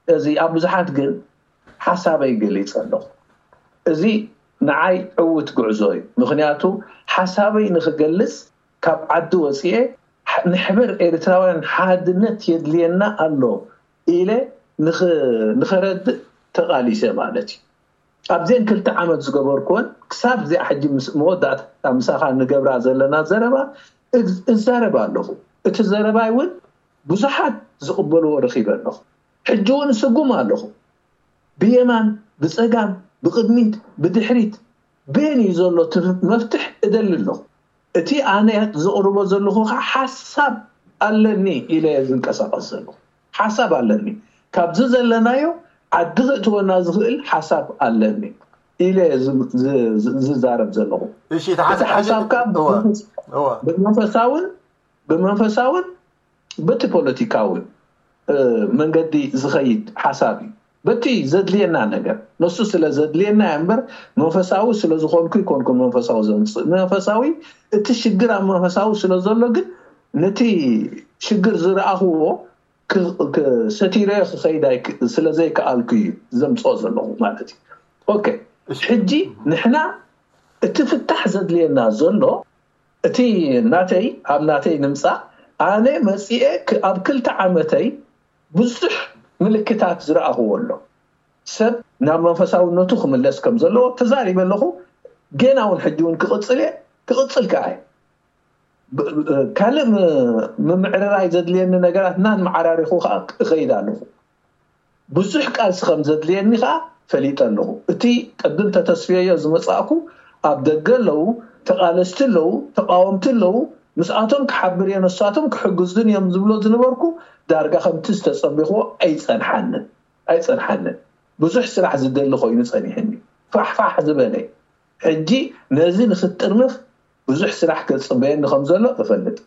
እዚ ኣብ ብዙሓት ግን ሓሳበይ ገሊፀ ኣለኹ። እዚ ንዓይ ዕውት ጉዕዞ እዩ። ምክንያቱ ሓሳበይ ንክገልፅ ካብ ዓዲ ወፅኤ ንሕበር ኤርትራውያን ሓድነት የድልየና ኣሎ ኢለ ንኸረድእ ተቓሊሰ ማለት እዩ። ኣብዘን ክልተ ዓመት ዝገበርኩወን ክሳብ እዚኣ ሕጂ መወዳእታ ምሳኻ ንገብራ ዘለና ዘረባ እዛረብ ኣለኹ። እቲ ዘረባይ እውን ብዙሓት ዝቕበልዎ ረኺበ ኣለኹ። ሕጂ እውን ስጉም ኣለኹ። ብየማን ብጸጋም ብቕድሚት ብድሕሪት በየን እዩ ዘሎ እቲ መፍትሕ እደሊ ኣለኹ። እቲ ኣነ ዘቕርቦ ዘለኹ ከዓ ሓሳብ ኣለኒ ኢለ እየ ዝንቀሳቐስ ዘለኹ። ሓሳብ ኣለኒ። ካብዚ ዘለናዮ ዓዲ ክእትወና ዝኽእል ሓሳብ ኣለኒ ኢለ እየ ዝዛረብ ዘለኹ። እቲ ሓሳብ ከዓ ብመንፈሳውን ብመንፈሳውን በቲ ፖለቲካዊ መንገዲ ዝኸይድ ሓሳብ እዩ። በቲ ዘድልየና ነገር ነሱ ስለ ዘድልየና እያ እምበር መንፈሳዊ ስለ ዝኾንኩ ይኮንኩ መንፈሳዊ ዘምፅእ። መንፈሳዊ እቲ ሽግር ኣብ መንፈሳዊ ስለ ዘሎ ግን ነቲ ሽግር ዝረኣኽዎ ሰቲረዮ ክኸይድ ስለ ዘይከኣልኩ እዩ ዘምፅኦ ዘለኹ ማለት እዩ። ኦኬ ሕጂ ንሕና እቲ ፍታሕ ዘድልየና ዘሎ እቲ ናተይ ኣብ ናተይ ንምፃእ ኣነ መፂኤ ኣብ ክልተ ዓመተይ ብዙሕ ምልክታት ዝረኣኽዎ ኣሎ። ሰብ ናብ መንፈሳውነቱ ክምለስ ከም ዘለዎ ተዛሪበ ኣለኹ። ጌና እውን ሕጂ እውን ክቕፅል እየ ክቕፅል ከዓ እየ። ካልእ ምምዕርራይ ዘድልየኒ ነገራት እናመዓራሪኹ ከዓ እኸይድ ኣለኹ። ብዙሕ ቃልሲ ከም ዘድልየኒ ከዓ ፈሊጠ ኣለኹ። እቲ ቅድም ተተስፍየዮ ዝመፃእኩ ኣብ ደገ ኣለዉ ተቓለስቲ ኣለዉ ተቃወምቲ ኣለዉ ምስኣቶም ክሓብር እየ ነሳቶም ክሕግዙን እዮም ዝብሎ ዝነበርኩ ዳርጋ ከምቲ ዝተፀበኽዎ ኣይፀንሓንን ኣይፀንሓንን። ብዙሕ ስራሕ ዝደሊ ኮይኑ ፀኒሕኒ። ፋሕፋሕ ዝበለ ሕጂ ነዚ ንክትጥርንፍ ብዙሕ ስራሕ ክፅበየኒ ከም ዘሎ እፈልጥ።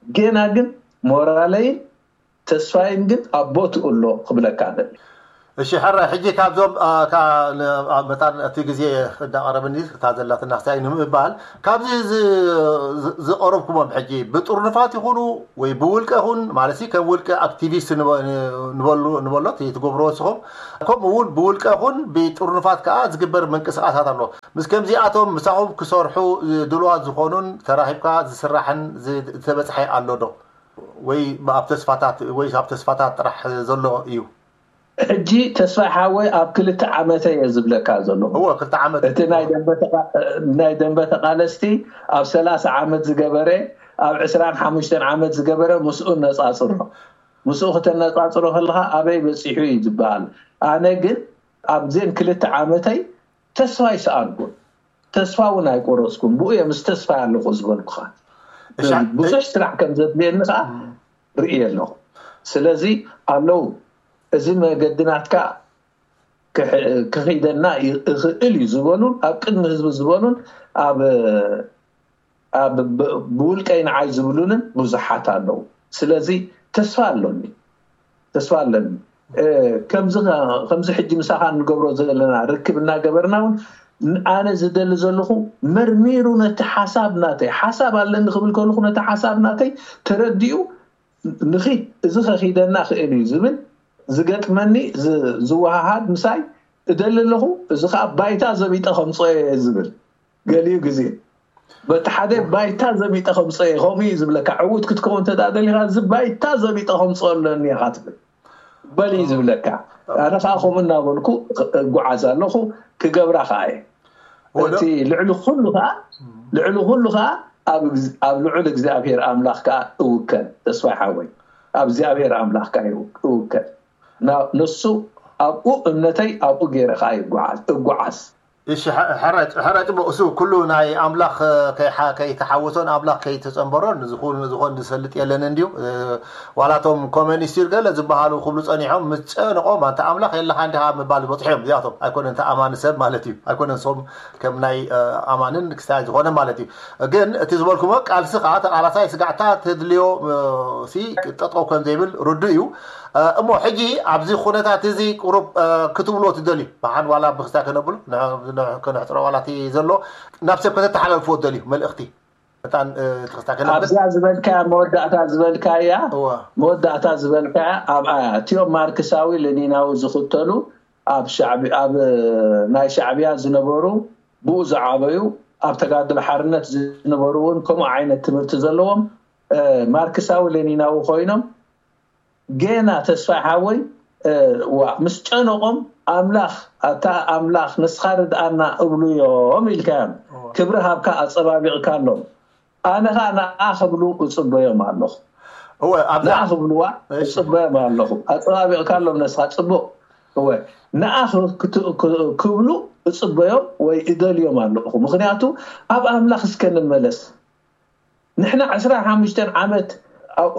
ጌና ግን ሞራለይን ተስፋይን ግን ኣብ ቦትኡ ኣሎ ክብለካ እደሊ። እሺ፣ ሕራይ፣ ሕጂ ካብዞም፣ አ፣ ካ-፣ ን-፣ አ፣ መታን እቲ ግዜ እንዳቐረበኒ እታ ዘላትና ክሳይ ንምባል፣ ካብዚ ዝ-፣ ዝ-፣ ዝቐረብኩሞም ሕጂ ብጥርኑፋት ይኹኑ ወይ ብውልቀ ይኹን፣ ማለት ሲ ከም ውልቀ ኣክቲቪስት ንበ-፣ ንበሉ-፣ ንበሎ እቲ ትገብርዎ ንስኹም፣ ከምኡ እውን ብውልቀ ይኹን ብጥርኑፋት ከኣ ዝግበር ምንቅስቃሳት ኣሎ። ምስ ከምዚኣቶም ምሳኹም ክሰርሑ ድሉዋት ዝኾኑን ተራኺብካ ዝስራሕን ዝ-፣ ዝተበጽሐ ኣሎ ዶ? ወይ ኣብ ተስፋታት፣ ወይ ኣብ ተስፋታት ጥራሕ ዘሎ እዩ? ሕጂ ተስፋ ሓወይ ኣብ ክልተ ዓመተ እየ ዝብለካ ዘለኹ። እወ፣ ክልተ ዓመት። እቲ ናይ ደንበ ተቓ-፣ ናይ ደንበ ተቓለስቲ ኣብ ሰላሳ ዓመት ዝገበረ፣ ኣብ ዕስራን ሓሙሽተን ዓመት ዝገበረ ምስኡ ነጻጽሮ። ምስኡ ክተነጻጽሮ ከለኻ ኣበይ በጺሑ እዩ ዝበሃል። ኣነ ግን ኣብዘን ክልተ ዓመተይ ተስፋ ኣይሰኣንኩን። ተስፋ እውን ኣይቆረጽኩን። ብኡ እየ ምስ ተስፋ ኣለኹ ዝበልኩኻ። እሻ-፣ ብዙሕ ስራሕ ከም ዘድልየኒ ከዓ ርእየ ኣለኹ። ስለዚ ኣለዉ፣ እዚ መገዲ ናትካ ክሕ-፣ ክኺደና ይ-፣ እኽእል እዩ ዝበሉን ኣብ ቅድሚ ህዝቢ ዝበሉን ኣብ፣ ኣብ ብ-፣ ብውልቀይ ንዓይ ዝብሉንን ብዙሓት ኣለዉ። ስለዚ ተስፋ ኣሎኒ፣ ተስፋ ኣለኒ። እ፣ ከምዚ ኸ-፣ ከምዚ ሕጂ ምሳኻ እንገብሮ ዘለና ርክብ እናገበርና እውን ን-፣ ኣነ ዝደሊ ዘለኹ መርሚሩ ነቲ ሓሳብ ናተይ፣ ሓሳብ ኣለኒ ክብል ከለኹ ነቲ ሓሳብ ናተይ ተረዲኡ ንኺድ፣ እዚ ኸኺደና ኽእል እዩ ዝብል ዝገጥመኒ ዝ-፣ ዝወሃሃድ ምሳይ እደሊ ኣለኹ። እዚ ኸዓ ባይታ ዘቢጠ ከምፅኦ እየ ዝብል ገሊኡ ግዜ በቲ ሓደ ባይታ ዘቢጠ ከምፅኦ እየ። ከምኡ እዩ ዝብለካ። ዕዉት ክትከውን እንተ ደኣ ደሊኻ እዚ ባይታ ዘቢጠ ከምፅኦ ኣለኒ ኢኻ ትብል። በል እዩ ዝብለካ። ኣነ ኸዓ ከምኡ እናበልኩ እጓዓዝ ኣለኹ፣ ክገብራ ኸዓ እየ። ወደ እቲ ልዕሊ ኩሉ ኸዓ፣ ልዕሊ ኩሉ ኸዓ ኣብ እግዝ-፣ ኣብ ልዑል እግዚኣብሔር ኣምላኽ ከኣ እውከል። ተስፋይ ሓወይ፣ ኣብ እግዚኣብሔር ኣምላኽ ከኣ ይው-፣ እውከል። ና-፣ ንሱ ኣብኡ እምነተይ ኣብኡ ገይረ ከኣ ይጓዓዝ፣ እጓዓዝ። እሺ፣ ሐ-፣ ሐራይ፣ ሐራይ ጽቡቕ። እሱ ኩሉ ናይ ኣምላኽ ከይሓ-፣ ከይተሓወሶን ኣምላኽ ከይተጸንበሮን ዝኾን፣ ዝኾን ዝፈልጥ የለን እንድዩ። እ፣ ዋላቶም ኮሚኒስት ገለ ዝበሃሉ ክብሉ ጸኒሖም፣ ምስ ጨነቖም፣ "ኣንታ ኣምላኽ የለኻ እንዲኻ" ምባል ዝበጽሑ እዮም። እዚኣቶም ኣይኮነን፣ እንተ ኣማኒ ሰብ ማለት እዩ። ኣይኮነን፣ ንሶም ከም ናይ፣ እ፣ ኣማንን ክስታይ ዝኾነ ማለት እዩ። ግን እቲ ዝበልኩሞ ቃልሲ ከኣ ተቓላሳይ ስጋዕታ ተድልዮ፣ እ፣ ሲ ጠጠው ከም ዘይብል ርዱእ እዩ። እ፣ እሞ ሕጂ ኣብዚ ኩነታት እዚ ቁሩብ፣ እ፣ ክትብልዎ ትደልዩ? ብሓን ዋላ ብክስታይ ከነብሎ፣ ን-፣ ን-፣ ከነሕጽሮ ዋላ እቲ ዘሎ ናብ ሰብ ከተተሓላልፍዎ ትደልዩ መልእኽቲ? መታን፣ እ፣ እቲ ክስታይ ከነብል? ኣብዛ ዝበልካያ፣ መወዳእታ ዝበልካያ፣ እዋ። መወዳእታ ዝበልካያ፣ ኣብ፣ ኣ፣ እቲኦም ማርክሳዊ ሌኒናዊ ዝኽተሉ፣ ኣብ ሻዕቢ-፣ ኣብ፣ እ፣ ናይ ሻዕብያ ዝነበሩ፣ ብኡ ዝዓበዩ፣ ኣብ ተጋድሎ ሓርነት ዝነበሩ እውን ከምኡ ዓይነት ትምህርቲ ዘለዎም፣ እ፣ ማርክሳዊ ሌኒናዊ ኮይኖም፣ ጌና ተስፋይ ሓወይ፣ እ፣ ዋ፣ ምስ ጨነቖም ኣምላኽ፣ ኣታ ኣምላኽ ንስኻ ርድኣና እብሉ እዮም ኢልካዮም። እዋ። ክብሪ ሃብካ ኣጸባቢቕካሎም። ኣነ ኸኣ ንኣ ክብሉ እጽበዮም ኣለኹ። እወ፣ ኣብዛ ንኣ ክብልዋ እሺ። እጽበዮም ኣለኹ። ኣጸባቢቕካሎም ነስኻ ጽቡቕ። እወ፣ ንኣ ክ-፣ ክት-፣ ክ-፣ ክብሉ እጽበዮም ወይ እደልዮም ኣለኹ። ምኽንያቱ ኣብ ኣምላኽ እስከ ንመለስ። ንሕና ዕስራን ሓሙሽተን ዓመት ኣብ፣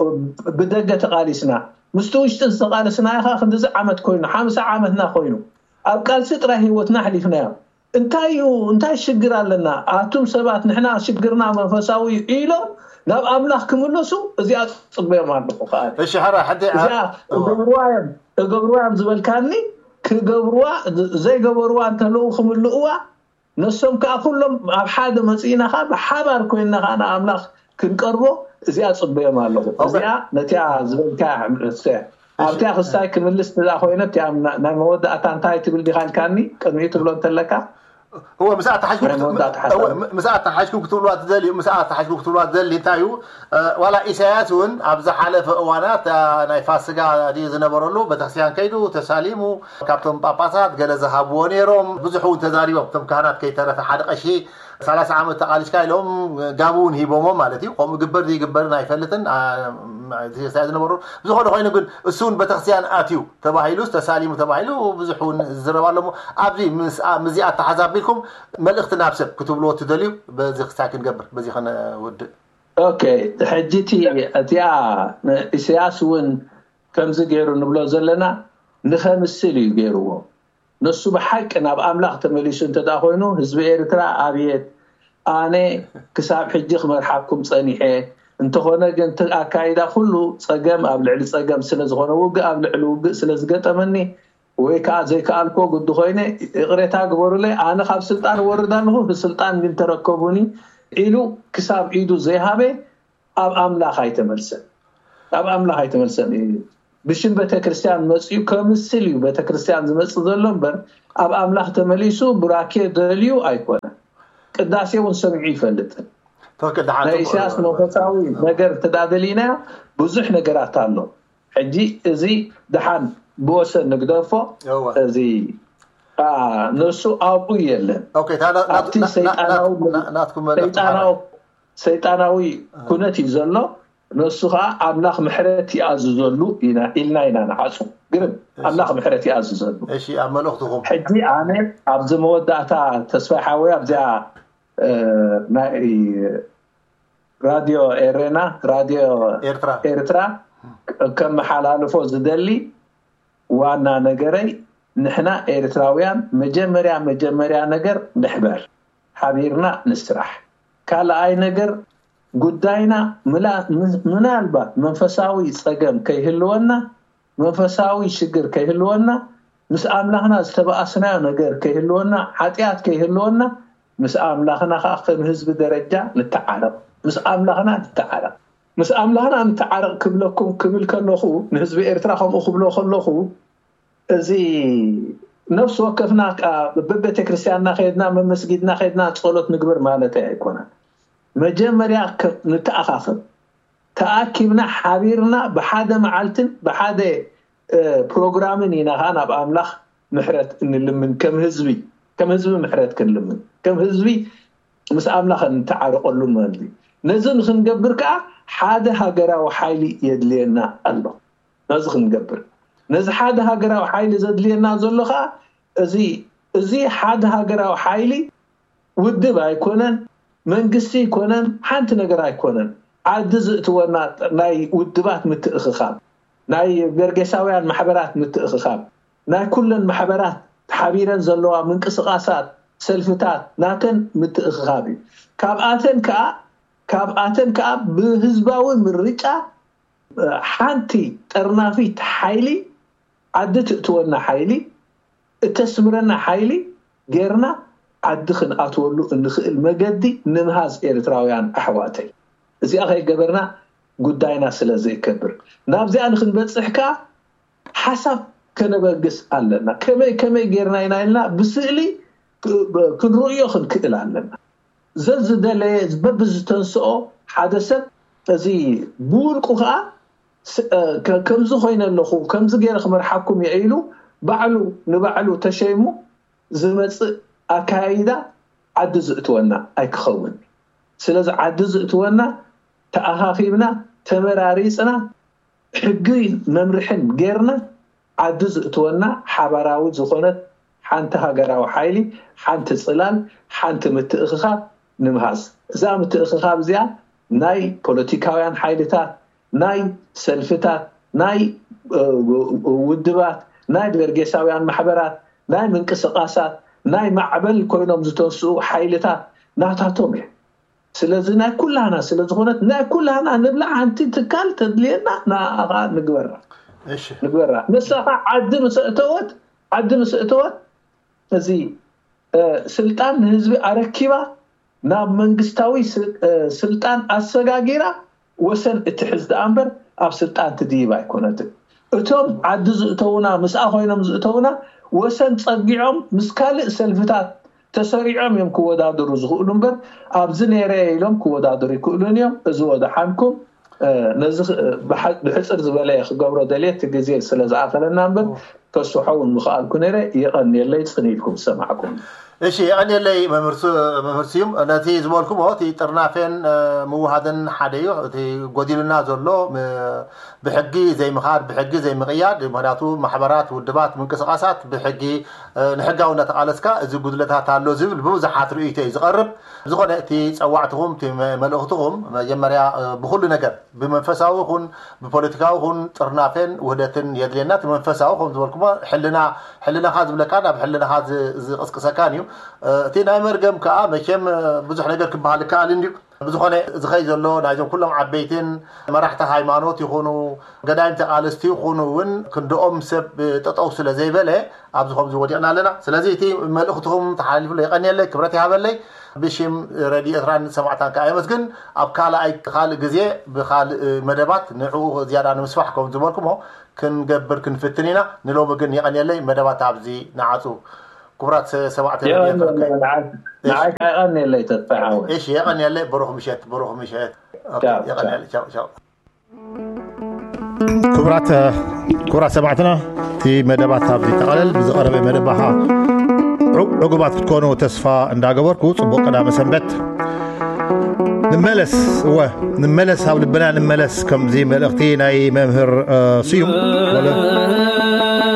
ብደገ ተቓሊስና፣ ምስቲ ውሽጢ ዝተቓለስናዮ ኸኣ ክንድዚ ዓመት ኮይኑ፣ ሓምሳ ዓመትና ኮይኑ፣ ኣብ ቃልሲ ጥራይ ህይወትና ኣሕሊፍናዮ። እንታይ እዩ፣ እንታይ ሽግር ኣለና? ኣቱም ሰባት፣ ንሕና ሽግርና መንፈሳዊ እዩ ኢሎም ናብ ኣምላኽ ክምለሱ፣ እዚኣ ጽበዮም ኣለኹ ከኣ። እሺ፣ ሕራይ፣ ሓንቲ እዚኣ እዋ። እገብርዋ እዮም፣ እገብርዋ እዮም ዝበልካኒ፣ ክገብርዋ፣ ዘይገበርዋ እንተለዉ ክምልእዋ፣ ንሶም ከኣ ኩሎም ኣብ ሓደ መጺእና ከኣ ብሓባር ኮይንና ከኣ ንኣምላኽ ክንቀርቦ እዚኣ ጽበዮም ኣለኹ። ኦኬ። እዚኣ ነቲኣ ዝበልካያ ሕምልስተ እሺ። ኣብቲኣ ክስታይ ክምልስ እዛ ኮይነ እቲኣ ና-፣ ናይ መወዳእታ እንታይ ትብል ዲኻ ኢልካኒ ቅድሚኡ ትብሎ እንተለካ? እወ፣ ምስኣ ኣተሓሒዝኩም ናይ ክት-፣ መወዳእታ እወ፣ ሓሳብ። ም-፣ ምስኣ ኣተሓሒዝኩም ክትብልዋ ትደልዩ፣ ምስኣ ኣተሓሒዝኩም ክትብልዋ ትደሊ እንታይ እዩ? እ፣ ዋላ ኢሳያስ እውን ኣብ ዝሓለፈ እዋናት፣ እ፣ ናይ ፋስጋ ድዩ ዝነበረሉ፣ ቤተክርስትያን ከይዱ ተሳሊሙ፣ ካብቶም ጳጳሳት ገለ ዝሃብዎ ነይሮም፣ ብዙሕ እውን ተዛሪቦም። እቶም ካህናት ከይተረፈ ሓደ ቀሺ ሰላሳ ዓመት ተቓሊስካ ኢሎም ጋቢ እውን ሂቦሞ ማለት እዩ። ከምኡ ግበር ዘይግበርን ኣይፈልጥን፣ አ፣ እቲ ዝነበሩ። ብዝኾነ ኮይኑ ግን እሱ እውን ቤተክርስትያን ኣትዩ ተባሂሉስ ተሳሊሙ ተባሂሉ ብዙሕ እውን ዝዝረብ ኣሎ። እሞ ኣብዚ ምስ-፣ አ-፣ ምስዚኣ ኣተሓዛቢልኩም መልእኽቲ ናብ ሰብ ክትብልዎ ትደልዩ? በዚ ክሳይ ክንገብር፣ በዚ ከነውድእ። ኦኬ፣ ሕጂ እቲ፣ እቲኣ ንኢሳያስ እውን ከምዚ ገይሩ ንብሎ ዘለና ንኸምስል እዩ ገይርዎ። ንሱ ብሓቂ ናብ ኣምላኽ ተመሊሱ እንተ ደኣ ኮይኑ፣ ህዝቢ ኤርትራ ኣብየት፣ ኣነ ክሳብ ሕጂ ክመርሓኩም ጸኒሐ፣ እንተኾነ ግን እቲ ኣካይዳ ኩሉ ጸገም ኣብ ልዕሊ ጸገም ስለ ዝኾነ፣ ውግእ ኣብ ልዕሊ ውግእ ስለ ዝገጠመኒ፣ ወይ ከዓ ዘይከኣልኮ ግዲ ኮይነ ይቕሬታ ግበሩለይ፣ ኣነ ካብ ስልጣን ወርድ ኣለኹ፣ ብስልጣን ግን ተረከቡኒ ኢሉ ክሳብ ኢዱ ዘይሃበ ኣብ ኣምላኽ ኣይተመልሰን። ኣብ ኣምላኽ ኣይተመልሰን እዩ። ብሽም ቤተክርስትያን መፅኡ ከምስል እዩ ቤተክርስትያን ዝመፅእ ዘሎ እምበር፣ ኣብ ኣምላኽ ተመሊሱ ቡራኬ ደልዩ ኣይኮነን። ቅዳሴ እውን ሰሚዑ ይፈልጥን። ናይ ኢሳያስ መንፈሳዊ ነገር ተዳደሊና ብዙሕ ነገራት ኣሎ። ሕጂ እዚ ደሓን ብወሰን ንግደፎ። እዚ ነሱ ኣብኡ የለን። ኣብቲ ሰይጣናዊ ሰይጣናዊ ኩነት እዩ ዘሎ። ነሱ ከዓ ኣምላኽ ምሕረት ይኣዝዘሉ ኢልና ኢና ንዓፁ። ግርም ኣምላኽ ምሕረት ይኣዝዘሉ። ኣብ መልእኽትኹም ሕጂ ኣነ ኣብዚ መወዳእታ ተስፋ ሓወይ ኣብዚኣ ናይ ራድዮ ኤሬና ራድዮ ኤርትራ ከመሓላልፎ ዝደሊ ዋና ነገረይ፣ ንሕና ኤርትራውያን መጀመርያ መጀመርያ ነገር ንሕበር፣ ሓቢርና ንስራሕ። ካልኣይ ነገር ጉዳይና ምናልባት መንፈሳዊ ፀገም ከይህልወና መንፈሳዊ ሽግር ከይህልወና፣ ምስ ኣምላኽና ዝተባኣስናዮ ነገር ከይህልወና፣ ሓጢኣት ከይህልወና፣ ምስ ኣምላኽና ከዓ ከም ህዝቢ ደረጃ ንተዓረቕ። ምስ ኣምላኽና ንተዓረቕ። ምስ ኣምላኽና ንተዓረቕ ክብለኩም ክብል ከለኹ፣ ንህዝቢ ኤርትራ ከምኡ ክብሎ ከለኹ፣ እዚ ነፍሲ ወከፍና በቤተ ክርስቲያንና ከድና መመስጊድና ከድና ጸሎት ንግበር ማለት ኣይኮነን። መጀመርያ ንተኣኻኸብ፣ ተኣኪብና ሓቢርና ብሓደ መዓልትን ብሓደ ፕሮግራምን ኢና ከዓ ናብ ኣምላኽ ምሕረት እንልምን። ከም ህዝቢ ከም ህዝቢ ምሕረት ክንልምን ከም ህዝቢ ምስ ኣምላኽ እንተዓረቀሉ ማለት እዩ። ነዚ ንክንገብር ከዓ ሓደ ሃገራዊ ሓይሊ የድልየና ኣሎ። ነዚ ክንገብር ነዚ ሓደ ሃገራዊ ሓይሊ ዘድልየና ዘሎ ከዓ እዚ እዚ ሓደ ሃገራዊ ሓይሊ ውድብ ኣይኮነን፣ መንግስቲ ኣይኮነን፣ ሓንቲ ነገር ኣይኮነን። ዓዲ ዝእትወና ናይ ውድባት ምትእኽኻብ፣ ናይ በርጌሳውያን ማሕበራት ምትእኽኻብ፣ ናይ ኩለን ማሕበራት ተሓቢረን ዘለዋ ምንቅስቃሳት ሰልፍታት ናተን ምትእኽኻብ እዩ። ካብኣተን ከዓ ካብኣተን ከዓ ብህዝባዊ ምርጫ ሓንቲ ጠርናፊት ሓይሊ ዓዲ ትእትወና ሓይሊ እተስምረና ሓይሊ ጌርና ዓዲ ክንኣትወሉ እንኽእል መገዲ ንምሃዝ ኤርትራውያን ኣሕዋተይ። እዚኣ ከይገበርና ጉዳይና ስለ ዘይከብር ናብዚኣ ንክንበፅሕ ከዓ ሓሳብ ከነበግስ ኣለና። ከመይ ከመይ ጌርና ኢና ኢልና ብስእሊ ክንርእዮ ክንክእል ኣለና። ዘዝደለየ በብዝተንስኦ ሓደ ሰብ እዚ ብውልቁ ከዓ ከምዚ ኮይነ ኣለኹ ከምዚ ገይረ ክመርሓኩም እየ ኢሉ ባዕሉ ንባዕሉ ተሸይሙ ዝመፅእ ኣካያይዳ ዓዲ ዝእትወና ኣይክኸውን። ስለዚ ዓዲ ዝእትወና ተኣኻኺብና ተመራሪፅና ሕጊ መምርሕን ጌርና ዓዲ ዝእትወና ሓባራዊ ዝኾነት ሓንቲ ሃገራዊ ሓይሊ፣ ሓንቲ ፅላል፣ ሓንቲ ምትእኽኻብ ንምሃዝ። እዛ ምትእኽኻብ እዚኣ ናይ ፖለቲካውያን ሓይልታት፣ ናይ ሰልፍታት፣ ናይ ውድባት፣ ናይ በርጌሳውያን ማሕበራት፣ ናይ ምንቅስቃሳት፣ ናይ ማዕበል ኮይኖም ዝተንስኡ ሓይልታት ናታቶም እየ። ስለዚ ናይ ኩላህና ስለዝኾነት ናይ ኩላህና ንብላ ሓንቲ ትካል ተድልየና ንኣኻ ንግበራ ንግበራ ንሳኻ ዓዲ ምስ እተወት ዓዲ ምስ እተወት እዚ ስልጣን ንህዝቢ ኣረኪባ ናብ መንግስታዊ ስልጣን ኣሰጋጊራ ወሰን እትሕዝ ደኣ እምበር ኣብ ስልጣን ትድይብ ኣይኮነትን። እቶም ዓዲ ዝእተውና ምስኣ ኮይኖም ዝእተውና ወሰን ጸጊዖም ምስ ካልእ ሰልፍታት ተሰሪዖም እዮም ክወዳደሩ ዝኽእሉ እምበር ኣብዚ ነይረ ኢሎም ክወዳደሩ ይክእሉን እዮም። እዚ ወደሓንኩም ነዚ ብሕፅር ዝበለ ክገብሮ ደልየ እቲ ግዜ ስለ ዝኣኸለና እምበር ከስሖ እውን ምኽኣልኩ ነይረ። የቐንየለይ ፅን ኢልኩም ዝሰማዕኩም። እሺ የቐንየለይ መምህር ስዩም። ነቲ ዝበልኩሞ እቲ ጥርናፌን ምውሃድን ሓደ እዩ። እቲ ጎዲሉና ዘሎ ብሕጊ ዘይምኻድ ብሕጊ ዘይምቕያድ ምክንያቱ ማሕበራት ውድባት ምንቅስቃሳት ብሕጊ ንሕጋዊ እናተቓለስካ እዚ ጉድለታት ኣሎ ዝብል ብብዙሓት ርእይቶ እዩ ዝቐርብ። ዝኾነ እቲ ፀዋዕትኹም እቲ መልእኽትኹም መጀመርያ ብኩሉ ነገር ብመንፈሳዊ ይኹን ብፖለቲካዊ ይኹን ጥርናፌን ውህደትን የድልየና። እቲ መንፈሳዊ ከም ዝበልኩሞ ሕልና ሕልናኻ ዝብለካ ናብ ሕልናኻ ዝቕስቅሰካን እዩ። እቲ ናይ መርገም ከዓ መቸም ብዙሕ ነገር ክበሃል ይከኣል እንድዩ። ብዝኾነ ዝኸይ ዘሎ ናይዞም ኩሎም ዓበይትን መራሕቲ ሃይማኖት ይኹኑ ገዳይም ተቓለስቲ ይኹኑ እውን ክንድኦም ሰብ ጠጠው ስለ ዘይበለ ኣብዚ ከምዚ ወዲቕና ኣለና። ስለዚ እቲ መልእኽትኹም ተሓላሊፍሎ የቐንየለይ፣ ክብረት ይሃበለይ። ብሽም ረድዮ ኤርትራን ሰማዕታን ከዓ የመስግን። ኣብ ካልኣይ ካልእ ግዜ ብካልእ መደባት ንዕኡ ዝያዳ ንምስፋሕ ከም ዝበልኩሞ ክንገብር ክንፍትን ኢና። ንሎሚ ግን የቐንየለይ፣ መደባት ኣብዚ ንዓጹ። ክቡራት ሰማዕቲ ረድዮ ኤርትራ። ንዓይ የቐንየለይ ተስፋ ሓወይ። እሺ፣ የቐንየለይ። ብሩኽ ምሸት፣ ብሩኽ ምሸት። ኦኬ፣ ቻው፣ የቐንየለይ። ቻው ቻው። ክቡራት ክቡራት ሰማዕትና፣ እቲ መደባት ኣብዚ ተቐለል። ብዝቐረበ መደባኻ ዕጉባት ክትኮኑ ተስፋ እንዳገበርኩ፣ ጽቡቕ ቀዳመ ሰንበት። ንመለስ፣ እወ፣ ንመለስ፣ ኣብ ልብና ንመለስ። ከምዚ መልእኽቲ ናይ መምህር ስዩም